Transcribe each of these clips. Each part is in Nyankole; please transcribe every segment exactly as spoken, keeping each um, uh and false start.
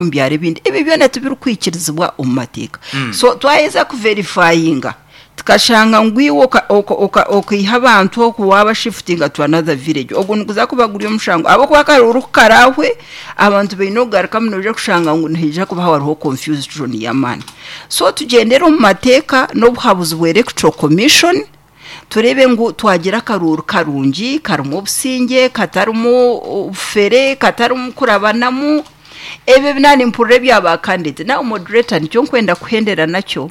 Omu byaro ebindi ebyo byona tibirikwikirizibwa omu mateeka. So twaheza kuverifayinga tukashanga ngu iwe okaiha abantu oku waabashifutinga to another village, ogwo niguza kuba guri omushango ahabw'okuba akaruuru ku karaahwe abantu baine okugarukamu noija kushanga ngu nihaija kuba hariho confusion y'amaani. So tugyendere omu mateeka n'obuhabuzi bwa Electoral Commission tureebe ngu twagira akaruuru karungi karimu obusingye, katarimu obufere, katarimu kurabanamu. Ebyo naaba nimpurira ebya ba candidate. Now moderator nikyo nkwenda kuhendera nakyo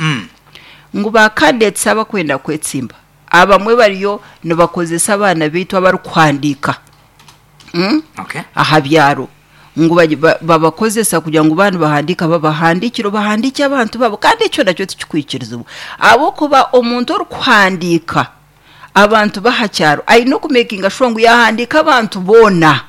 ngu ba candidates abakwenda kwetsimba abamwe bariyo nibakozesa abaana baitu abarikuhandiika Okay. aha byaro ngu bagi- ba- babakozesa kugira ngu baaba nibahandiika babahandiikire bahandiike abantu baabo kandi ekyo nakyo tikikwikirizibwa ahabw'okuba omuntu orikuhandiika abantu b'aha kyaro aine okumekinga sure ngu yaahandiika abantu boona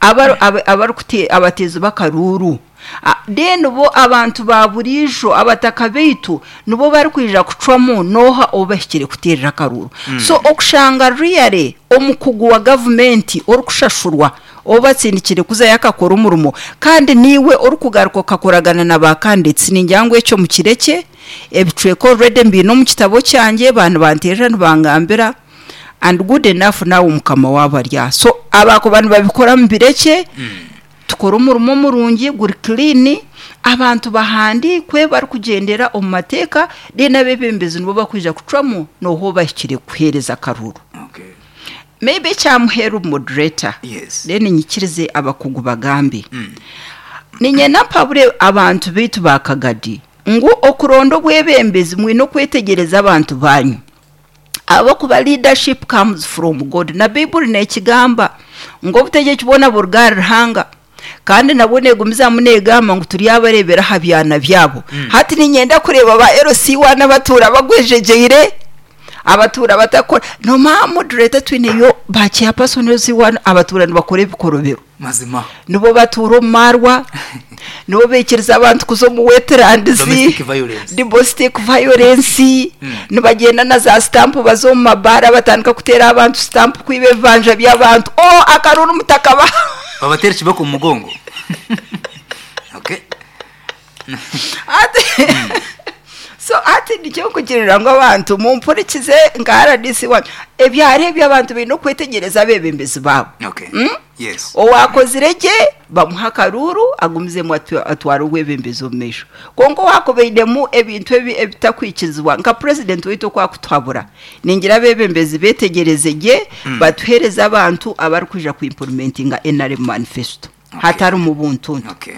abaru- aba- abarikute- abateezi b'akaruuru. Ah, Then bo abantu ba buriijo abataka baitu nibo barikwija kucwamu n'oha ou bahikire kuteerera akaruuru. So okushanga really omukugu wa gavumenti orikushashurwa ou batsindikire kuzayo akakora omurimo kandi niiwe orikugaruka okakoragana na ba candidates, ningira ngu ekyo mukirekye. Ebicweka already mbiine omu kitabo kyangye, ba nibanteerera nibangambira and good enough naawe mukama waabo ari aha. So abakuba nibabikora mubirekye, tukore omurimo murungi guri clean, abantu bahandiikwe barikugyendera omu mateeka, then abeebembezi nibo bakwija kucwamu n'oha ou bahikire kuheereza akaruuru. Okay. Maybe ekyamuheeru moderator, Yes. then nyikirize abakugu bagambe. Niinyenda mpabure abantu baitu ba Kagadi ngu okuronda obwebembezi mwine okwetegyereza abantu banyu. Ahabw'okuba leadership comes from God, na Baiburi neekigamba ngu obutegyeki bwona buruga ahari Ruhanga, kandi nabwo neegumizamu neegamba ngu turyabareebera aha byana byabo. Hati niinyenda kureeba ba L C one abatuura bagwejegyeire, abatuura batakukora. Noomanya moderator twineyo ba chairperson L C one abatuura nibakora ebikorobero. Mazima. Nibo batuura omu maarwa, nibo baikiriza abantu kuza omu wetlands, Domestic violence. Domestic violence, nibagyenda na za stamp baza omu mabaara batandika kuteera abantu stamp kwiba ebibanja by'abantu. Oh, akaruuru mutakabaha. Babatera ekiboko omu mugongo. Okay. Hati so hati nikyo nkugirira ngu abantu mumpurikize nka R D C wanyu, ebyaro ebyo abantu baine okwetegyereza abeebembezi baabo. Okay. Yes. Owakozire gye bamuha akaruuru agumizemu atwa- atware obwebembezi omu maisho, kwonka owakubainemu ebintu ebi ebitakwikirizibwa nka purezidenti waitu okwakutuhabura, ningira abeebembezi beetegyereze gye batuheereze abantu abarikwija kuimplementinga N R M manifesto hatarimu buntuntu. Okay.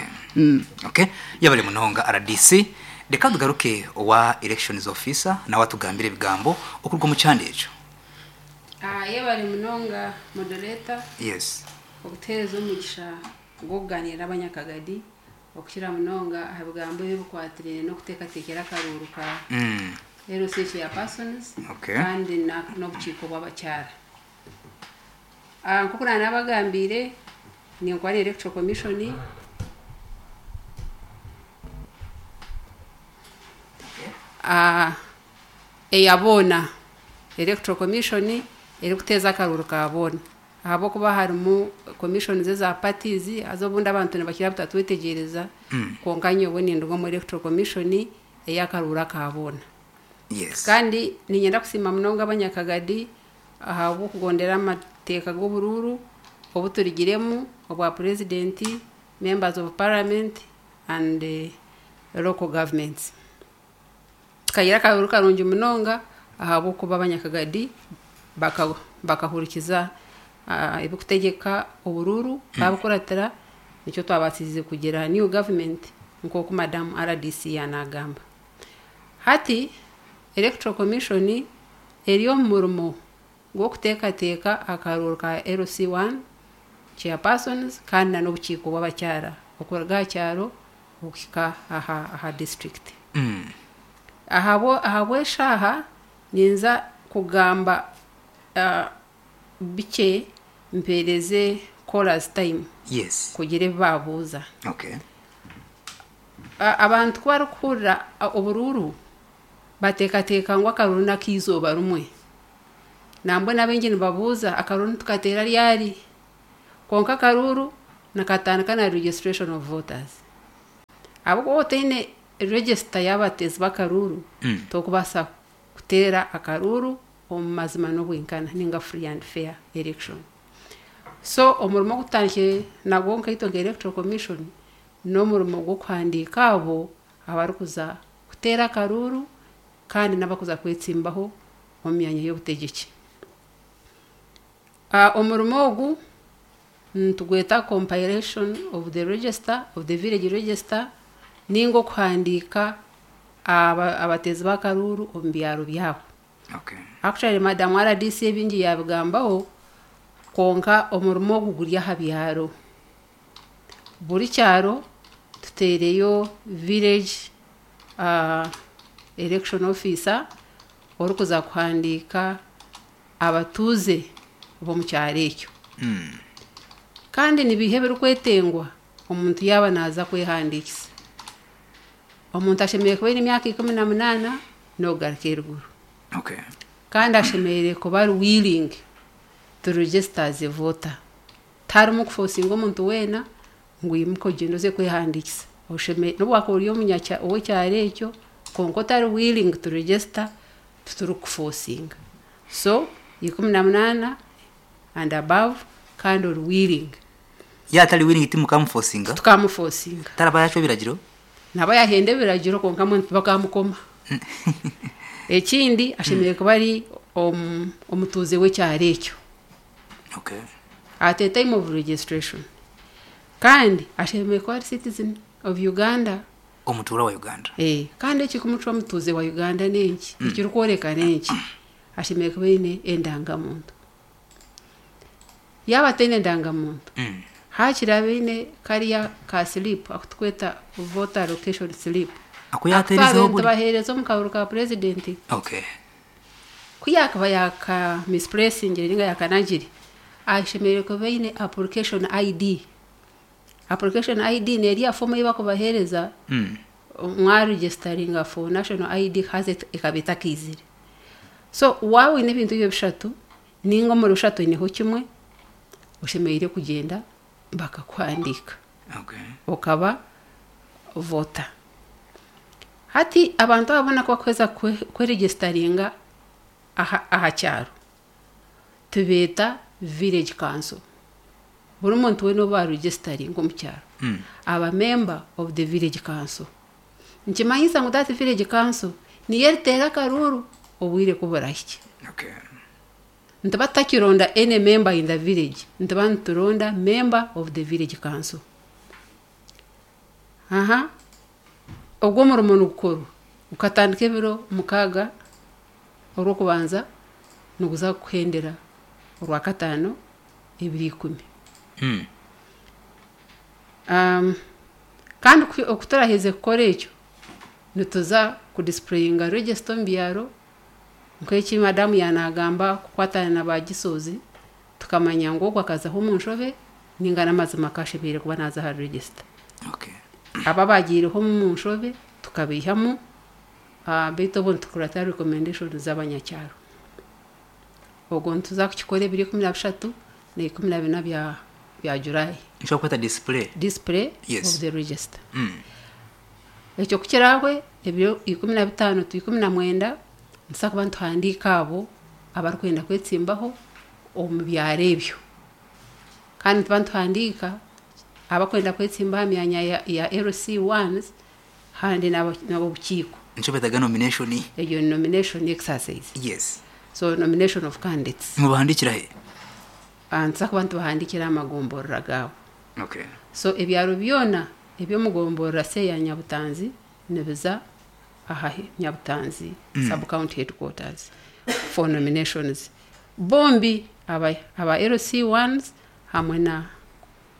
Okay. Yabale munonga R D C. Reka tugaruke owa elections officer nawe atugambire ebigambo okuruga omu kyanda ekyo. Ah, yebale munonga moderator Yes. okutuheereza omugisha gw'okuganira n'abanyakagadi okukira munonga aha bigambo ebikwatiraine n'okuteekateekera akaruuru ka Mm. L C chairpersons Okay. kandi na- n'obukiiko bw'abakyara. Ah, nk'oku naanabagambiire, ninkora Electoral Commission Ah, eya boona, Electoral Commission erikuteeza akaruuru ka boona, ahabw'okuba harimu commissions eza parties haza obundi abantu nibakira butatwetegyereza, kwonka nyowe ninduga omu Electoral Commission ey'akaruuru aka boona. Yes. Kandi niinyenda kusiima munonga abanyakagadi ahabw'okugondera amateeka g'oburuuru obu turigiremu obwa president, members of parliament and eh, local governments. Tukagira akaruuru karungi munonga ahabw'okuba abanyakagadi baka- bakahurikiza ah, ebikutegeka oburuuru babukuratira, nikyo twabasize kugira new government nk'oku Madam R D C yanagamba. Hati Electoral Commission eri omu murimo gw'okuteekateeka akaruuru ka L C one chairpersons kandi na n'obukiiko bw'abakyara okuruga aha kyaro okuhika aha, aha district. Mm. Ahabwo ahabw'eshaaha ninza kugamba uh, bikye mpeereze callers time Yes. kugira ebi baabuuza. Okay. A- abantu ku barikuhurira a- oburuuru bateekateeka ngu akaruuru n'ak'eizooba rumwe. Nambwenu abaingi nibabuuza, akaruuru nitukateera ryari? Kwonka akaruuru nikatandika na registration of voters. Ahabw'okuba otaine register y'abateezi b'akaruuru, Mm. tokubaasa kuteera akaruuru omu mazima n'obwenkana ninga free and fair election. So omurimo ogutandikire nagwo nkaitwe nka Electoral Commission n'omurimo gw'okuhandiika abo abarikuza kuteera akaruuru kandi n'abakuza kwetsimbaho omu myanya y'obutegyeki. Ah, omurimo ogu nitugweta compilation of the register of the village register, ninga okuhandiika aba- abateezi b'akaruuru omu byaro byabo. Okay. Actually, Madam R D C ebingi yabigambaho, konka omurimo ogu guri aha byaro. Buri kyaro tuteereyo village uh, election officer orikuza kuhandiika abatuuze b'omu kyaro ekyo. Mm. Kandi nibiha ebirikwetengwa omuntu yaaba naaza kwehandiikisa? Omuntu ashemereire kuba aine emyaka ikumi na munaana n'okugaruka eruguru. Okay. Kandi ashemereire kuba ari willing to register as a voter. Tiharimu kufosinga omuntu weena ngu imuka ogyende oze kwehandiikisa. Osheme- n'obu wakuba ori omunyakya ow'ekyaro ekyo, konka otari willing to register, titurikufosinga. So ikumi na munaana and above, kandi ori willing. Yatari willing, timukamufosinga? Tukamufosinga. Taraba yacwa ebiragiro? Naba yahenda ebiragiro, konka mwe bakamukoma. Ekindi, ashemereire kuba ari omu- omutuuze w'ekyaro ekyo Okay. at a time of registration, kandi ashemereire kuba ari citizen of Uganda. Omutuura wa Uganda. Eh, kandi ekikumucwa omutuuze wa Uganda nenki? Ekirikworeka nenki? Ashemereire kuba aine endangamuntu. Yaaba ataine endangamuntu, Mm. hakiri abe aine kariya ka slip akutukweta voter location slip. Ako yateerezeho buri? Tubaheereza omu karuru ka purezidenti. Okay. Ku yakaba yaka misplacingire ninga yakanagire, ashemereire kuba aine application I D. Application I D neriya fomu ei bakubaheereza Mm. mwaregisteringa for national I D, haza ekaba etakaizire. So waaba oine ebintu ebyo bishatu, ninga omuri bishatu oineho kimwe, oshemereire kugyenda bakakuhandiika Okay. okaba voter. Hati abantu ababona ko bakuheza kweregisteringa aha, aha kyaro, tubeeta village council. Buri muntu weena oba aregisteringa omu kyaro Mm. aba member of the village council. Nikimanyisa ngu that village council niyo eriteera akaruuru obwire kuburahike. Okay. Nituba tutakironda any member in the village, nituba nituronda member of the village council. Aha ogwo omurimo nigukorwa gukatandika ebiro mukaaga orwokubanza, niguza kuhendera orwakataano ebiro ikumi. Mm. um, kandi ku- okuturaheze kukora ekyo, nituza kudisplayinga register omu byaro, nk'eki madamu yanagamba, kukwatana na bagisozi, tukamanya ngu ogwo akazaho omu nshobe ninga n'amazima kashemereire kuba naza aha register. Okay. Aba bagiireho mu nshobe tukabaihamu, uh, beitu obwo nitukurata recommendation z'abanyakyaro. Ogwo nituza kukikora ebiro ikumi na bishatu na ikumi na bina bya bya July. Nshobora kweta display. Display Yes. of the register. Mm. Ekyo kukirahwe, ebiro ikumi na bitaano tu ikumi na mwenda, nituza kuba nituhandiika abo abarikwenda kwetsimbaho omu byaro ebyo, kandi nituba nituhandiika abakwenda kwetsimba aha myanya ya, ya L C ones handi n'abobukiiko. Nico betaga nomination. Eyo nomination exercise. Yes. So nomination of candidates. Mubahandikira he? Ah, nituza kuba nitubahandikira amagomborora gaabo. Okay. So ebyaro byona ebyomugomborora se ya Nyabutanzi nibiza aha Nyabutanzi mm. sub county headquarters for nominations, bombi aba, aba L C ones hamwe na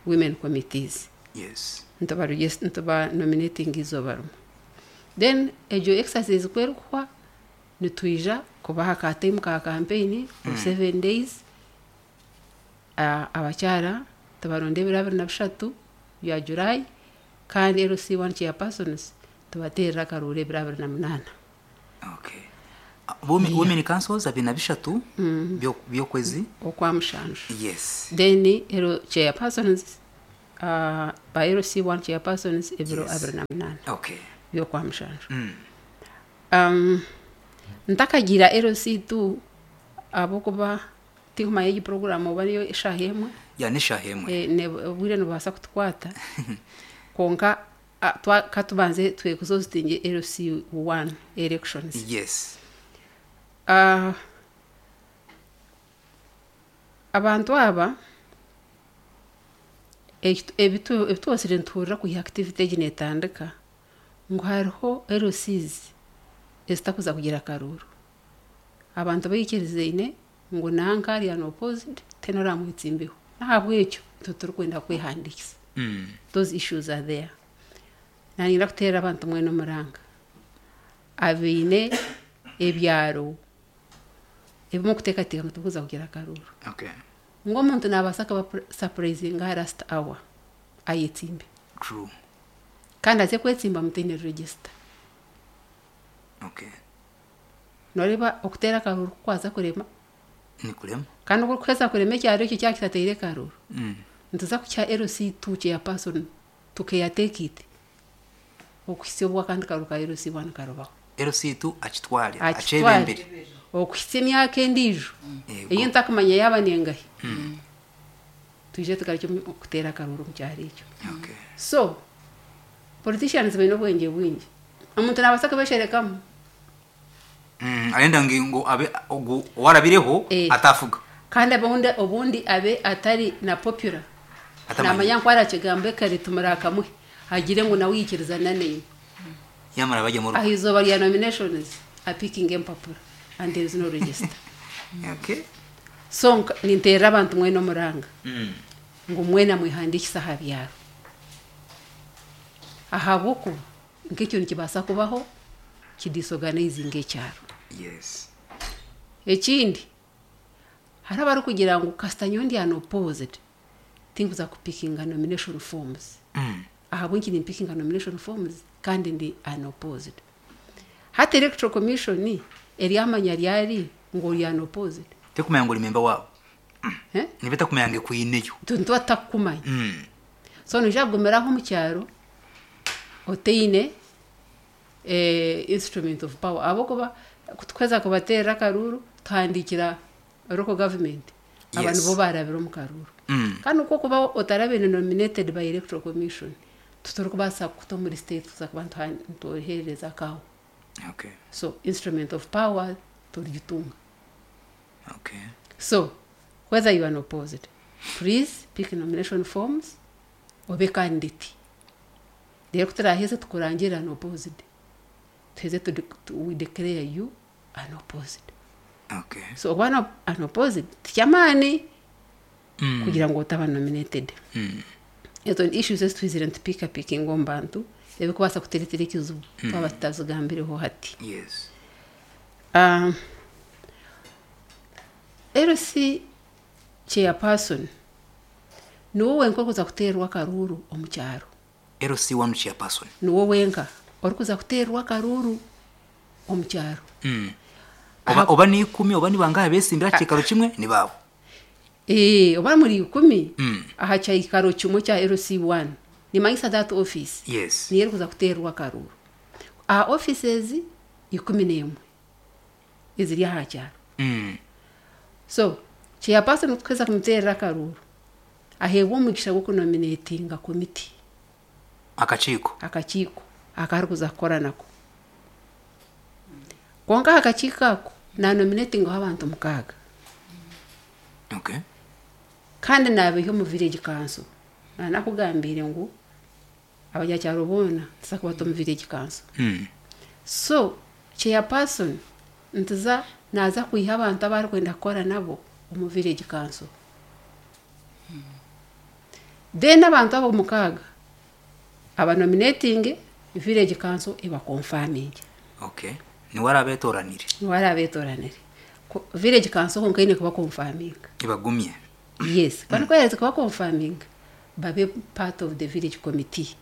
women committees. Yes. ntuba ntuba nominating izooba rimwe. Then egyo exercise kwerikuhwa, nitwija kubaha ka time ka campaign of seven days. uh, abakyara tubaronda ebiro abiri na bishatu bya July, kandi L C one chairpersons tubateerera akaruuru ebiro abiri na munaana. Okay. Uh, women, women councils abiri na bishatu byo- by'okwezi okwa mushanju. Yes. Then ero chairpersons. uh, ba L C one chairpersons ebiro Yes. abiri na munaana Okay. by'okwa mushanju. Mm. um, ntakagira L C two, ahabwokuba tinkumanya egi program oba niyo eshaaha emwe. Ya, n'eshaaha emwe. Eh, ne- obwire nibubaasa kutukwata, konka ah, twa- katubanze twekuzozitinge L C one elections. Yes. Ah, abantu aba ekitu- ebitu- ebitwosire nituhurira kwiha activity egi netandika ngu hariho L Cs ezitakuza kugira akaruuru. Abantu baikirizaine ngu nanka ari unopposed, tena oramwitsimbiho, nahabwekyo nitwe turikwenda kwehandikisa. Mm. Those issues are there. Nanyenda kuteerera abantu mwena omuranga abaine ebyaro ebimwe okuteekateeka ngu tibikuza kugira akaruuru, Okay. ngu omuntu nabaasa kuba surprising aha last hour ayetsimbe. True. Kandi aze kwetsimba mutaine register. Okay. Noreeba okuteera akaruuru kukwaza kurema. Nikurema. Kandi okuheza kurema ekyaro ekyo kyaba kitateire akaruuru, Mm. nituza kukya L C two chairperson tukeyateekite okuhitsya obu akandi karuuru ka L C one karubaho. L C two akitware. Akitware. Akyebembere. Okuhitsya emyaka endiijo Yego. eyi ntakumanya yaaba nengahi, twije tugarukye omu- okuteera akaruuru omu kyaro ekyo. Okay. So politicians baine obwengye bwingi, omuntu nabaasa kubesherekamu. Mm. Arenda ngi ngo abe ogu warabireho Eh. atafuga. Kandi obundi, obundi abe atari na popular. Atamanya. Namanya ngu arakigambo kare tumurakamuhe agire ngu nawe yikirizana neiwe. Yamara bajya mu rugo. Aha izooba rya nominations apikinga empapura and there is no register. Okay. So nka- ninteerera abantu mwena omuranga Mm. ngu mwena mwehandikise aha byaro, ahabwokuba nk'ekyo nikibaasa kubaho kidisorganizinga ekyaro. Yes. Ekindi, hariho abarikugira ngu kasita nyowe ndi unopposed, tinkuza kupikinga nomination forms. Mm. Ahabw'enki nimpikinga nomination forms kandi ndi unopposed? Hati Electoral Commission eryamanya ryari ngu ori unopposed? Tekumanya ngo uri member wabo. Eh? Nibeta kumenya ngo kwineyo. Tuntu atakumanya. Mm. So noija kugumiraho omu kyaro oteine eh, instrument of power, ahabwokuba kutukweza kubateerera akaruuru tuhandikira local government abantu Yes. bo barabira omu karuuru. Mm. Kandi okwo kuba otarabire nominated by Electoral Commission, tuturikubaasa kuta omuri state tuza kuba nituha- nituherereza akaho. Okay. So instrument of power turigitunga. Okay. So whether you are unopposed, please pick nomination forms, obe candidate, rero kuturaheze tukurangirira unopposed, tuheze tu, tu, we declare you unopposed. Okay. So oba no- unopposed tikyamaani Mm. kugira ngu otaba nominated. Mm. Ezo ni issues ezitwizire nitupika pikinga omu bantu ebikubaasa kuteretera ekizibu twaba tutazigambireho hati. Yes. Um, L C chairperson niwe wenka orikuza kuteerwa akaruuru omu kyaro. L C one chairperson. Niwe wenka orikuza kuteerwa akaruuru omu kyaro. Mm. Oba, oba ni ikumi, oba ni bangahe besimbira kikaro kimwe ni babo. Eh, oba muri ikumi Mm. aha kyikaro kimwe kya L C one, nimanyisa that office Yes. niyo erikuza kuteerwa akaruuru aha offices ikumi n'emwe eziri aha kyaro. Mm. So chairperson kuheza kumuteerera akaruuru, aheebwa omugisha gw'okunominatinga committee. Akakiiko. Akakiiko akarikuza kukora nako, konka aha kakiiko ako nanominatingaho abantu mukaaga. Okay. Kandi nabiha omu village council. Nanakugambire ngu abanyakyaro boona tuza kubata omu village council. Mm. So chairperson ntiza naza kwiha abantu abarikwenda kukora nabo omu village council, then abantu abo mukaaga abanominating, village council ebaconfirming. Okay. Niwe arabetoranire. Niwe arabetoranire. Ko- village council konka eine kuba confirming. Ibagumye. Yes, kandi kwaherize kuba confirming, babe part of the village committee.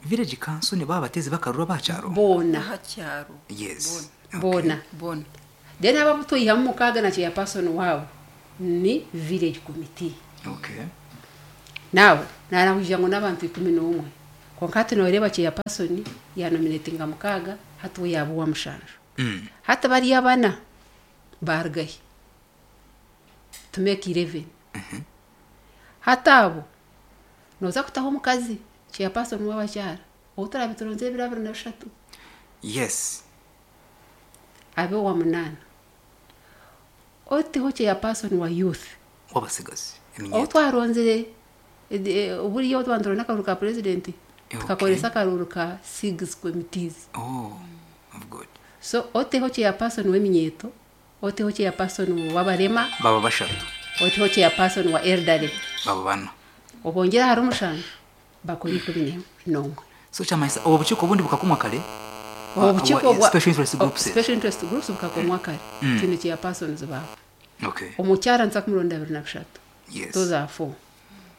Village council ni baba batezi bakarura bacyaro. Boona. Aha kyaro. Yes. Okay. Boona. Bona. Then aba twihamu mukaaga na chairperson waabo ni village committee. Okay. Nawe narahuja ngo n'abantu ikumi n'omwe, konka hati noreeba chairperson yanominatinga mukaaga, hati we yaba owa mushanju. Mm. Hati bariya bana barugahi to make eleven. Hati abo noza kutaho omukazi chairperson w'abakyara ou turabe turonze ebiro abiri na bishatu, Yes. abe owa munaana. Oteho chairperson wa youth, Wabasigazi ou eminyeto. twaronzire buriya twaba nituronda akaruru ka president, Okay. tukakoresa akaruru ka six committees. Oh, of good. So oteho chairperson w'eminyeto, oteho chairperson w'abarema, Baba bashatu. Oteho chairperson wa elderly. Baba bana. Obongera hari omushanju, bakora ikumi n'omwe. So kyamanyisa obwo bukiiko obundi bukakomwa kare. Obukiiko Obwa- bwa special interest groups. Special interest groups bukakomwa kare, tine chairpersons baabo. Okay. Omukyara nza kumuronda abiri na bishatu. Yes. Those are four.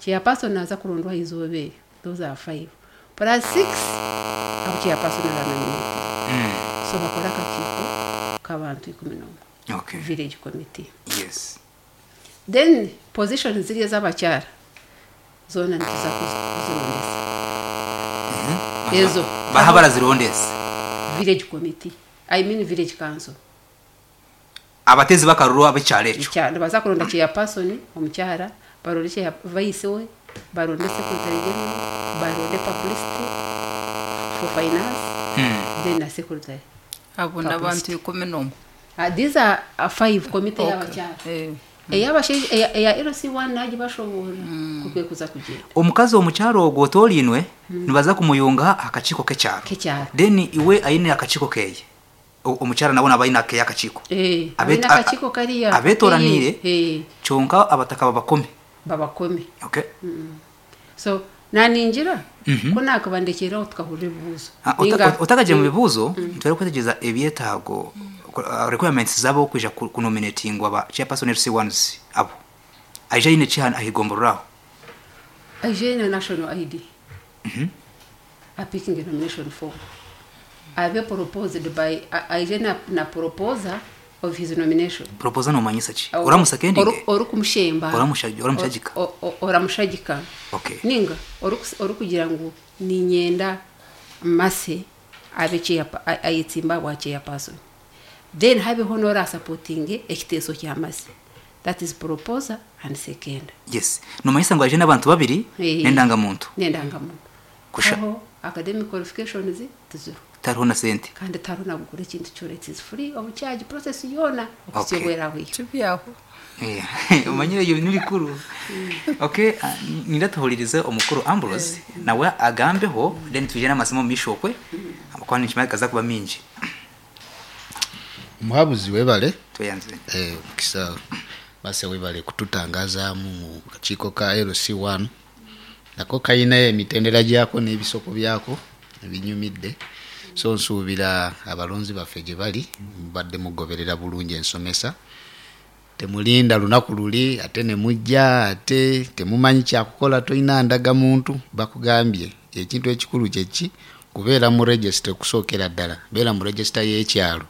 Chairperson naza kurondwa izooba eryo, those are five, plus six abo chairperson aranominate. Mm. So bakora akakiiko k'abantu ikumi n'omwe, Okay. village committee. Yes. Then position ziri ez'abakyara zoona nituza kuzi- kuzirondesa ezo. Baha barazirondesa? Village committee, I mean village council. Abatezi bakaruru ab'ekyaro ekyo. Ekya- nibaza kuronda chairperson omukyara, baronde chair vice we, baronde secretary general, baronde publicity for finance, Mm. then na secretary. Abo n'abantu ikumi n'omwe. Uh, these are uh, five committee Okay. y'abakyara. Eh. Ey'abashaija, eya eya L C one nagibashoboora kukwe kuza kugenda. Omukazi omukyaro ogwo otorinwe nibaza kumuyunga akakiiko k'ekyaro. K'ekyaro. Then iwe aine akakiiko keye. O- omukyara nabo naba aine akeye akakiiko. Eh, Abet- aine akakiiko kariya. Abetoraniire. Eh, Kyonka abataka babakome. Babakome. Okay. So naningira Mhm. ko nakabandekeraho tukahurira ebibuuzo. Ah, Ninga- ota- otakagiye mu bibuuzo, ntwere kwetegereza ebyetaago, uh, requirements zabo kwija ku- kunominatingwa ba chairperson L C ones. Abo aija aine ki ahigomboreraho? Aije na national I D, apicking a nomination form, abe proposed by a- aije na, na proposer of his nomination. Proposer nomanyisa ki? Oramusakendinge? Oru- orikumushemba. Oramusha- oramushagika. O- o- oramushagika. Okay. Ninga orikus- orikugira ngu ninyenda mase abe chair- a- ayetsimba bwa chairperson, then habeho n'orasupportinge ekiteeso kya mase, that is proposer and second. Yes, nomanyisa ngu aije n'abantu babiri Eh. n'endangamuntu. N'endangamuntu. Kusha. Aho academic qualifications tiziro. Tariho na sente. Kandi tariho nagukora ekintu kyona, it is free of charge process yoona Okay. okusyobweraho iyo. Kibyaho. Eh, omanyire ebyo nibikuru. Okay, ah, nindatuhulirize omukuru Ambrose nawe agambeho, then tuje n'amasomo mu misho okwe amakwana nikimanya gaza kuba mingi. Omuhabuzi, webale. Tweyanze. Eh, mukisa base, webale kututangazaamu mu kakiiko ka L C one. Nako kayina emitendera gyako n'ebisoko byako ebinyumidde, so nsuubira abalonzi baffe gye bali mubadde mugoberera bulungi ensomesa. Temulinda lunaku luli ate ne mujja ate temumanyi kyakukola, tolina ndagamuntu. Bakugambye ekintu ekikulu kyeki? Kubeera mu register. Okusookera ddala beera mu register y'ekyalo.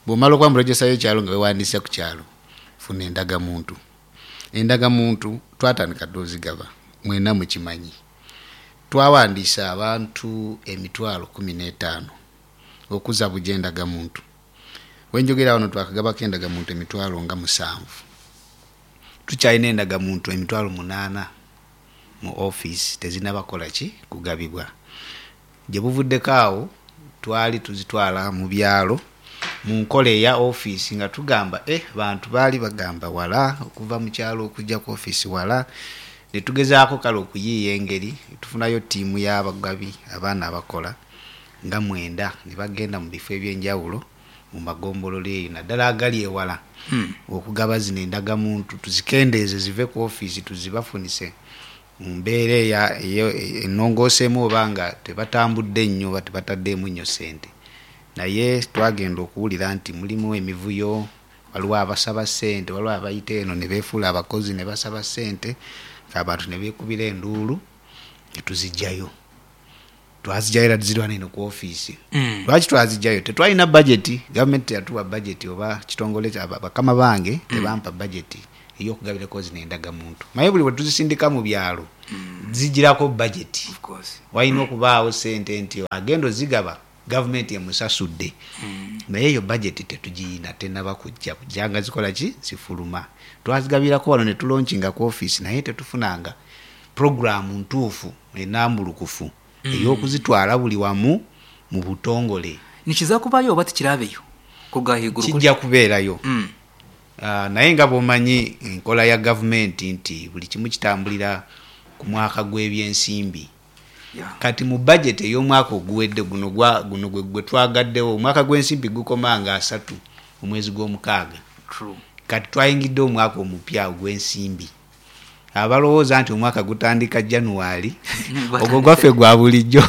Bw'omala okuba mu register y'ekyalo nga wewandiise ku kyalo, funa endagamuntu. Endagamuntu twatandika dde ozigaba, mwena mukimanyi. Twawandiisa abantu emitwalo kumi n'etaano okuza buja endagamuntu. Wenjogera wano twakagabako endagamuntu emitwalo nga musanvu. Tukyalina endagamuntu emitwalo munaana mu offisi, tezinabakola ki kugabibwa. Gye buvuddeko awo twali tuzitwala mu byalo mu nkola eya ofiisi, nga tugamba eh, bantu baali bagamba wala okuva mu kyalo okujja ku ofiisi wala. Netugezaako kale okuyiiya engeri tufunayo ttiimu y'abagabi, abaana abakola nga mwenda, ne bagenda mu bifo ebyenjawulo mu magombolola eyo, naddala agali ewala, Hmm. okugaba zino endagamuntu tuzikendeeze zive ku ofiisi tuzibafunise mu mbeera eya- eyo- ennongooseemu, oba nga tebatambudde nnyo oba tebataddeemu nnyo ssente. Naye twagenda okuwulira nti mulimu emivuyo, waliwo abasaba ssente, waliwo abayita eno ne beefuula abakozi ne basaba ssente, abantu ne beekubira enduulu, ne tuzijjayo. Twazijjayo era tuzirwana eno ku ofiisi. Mm. Lwaki twazijjayo? Tetwalina budget, gavumenti teyatuwa budget, oba kitongole kya- bakama bange tebampa budget. Ey'okugabirako zino endagamuntu, maye buli bwe tuzisindika mu byalo zigirako budget. Of course. Walina okubaawo sente nti agenda ozigaba gavumenti emusasudde, naye eyo budget tetugiyina, tenaba kujja kujjanga zikola ki, zifuluma. Twazigabirako wano ne tulaunchinga ku office, naye tetufunanga programu ntuufu enambulukufu ey'okuzitwala buli wamu mu butongole. Nikiza kubayo oba tikirabeyo kuruga ahaiguru? Kijja kubeerayo. Mm. Ah, naye nga bw'omanyi enkola ya gavumenti nti buli kimu kitambulira ku mwaka gw'ebyensimbi. Yeah. Kati mu budget ey'omwaka oguwedde guno gwa- guno gwe gwe twagaddewo, omwaka gw'ensimbi gukoma nga asatu omwezi gw'omukaaga. True. Kati twayingidde omwaka omupya ogw'ensimbi. Abalowooza nti omwaka gutandika January, ogwo gwaffe gwa bulijjo,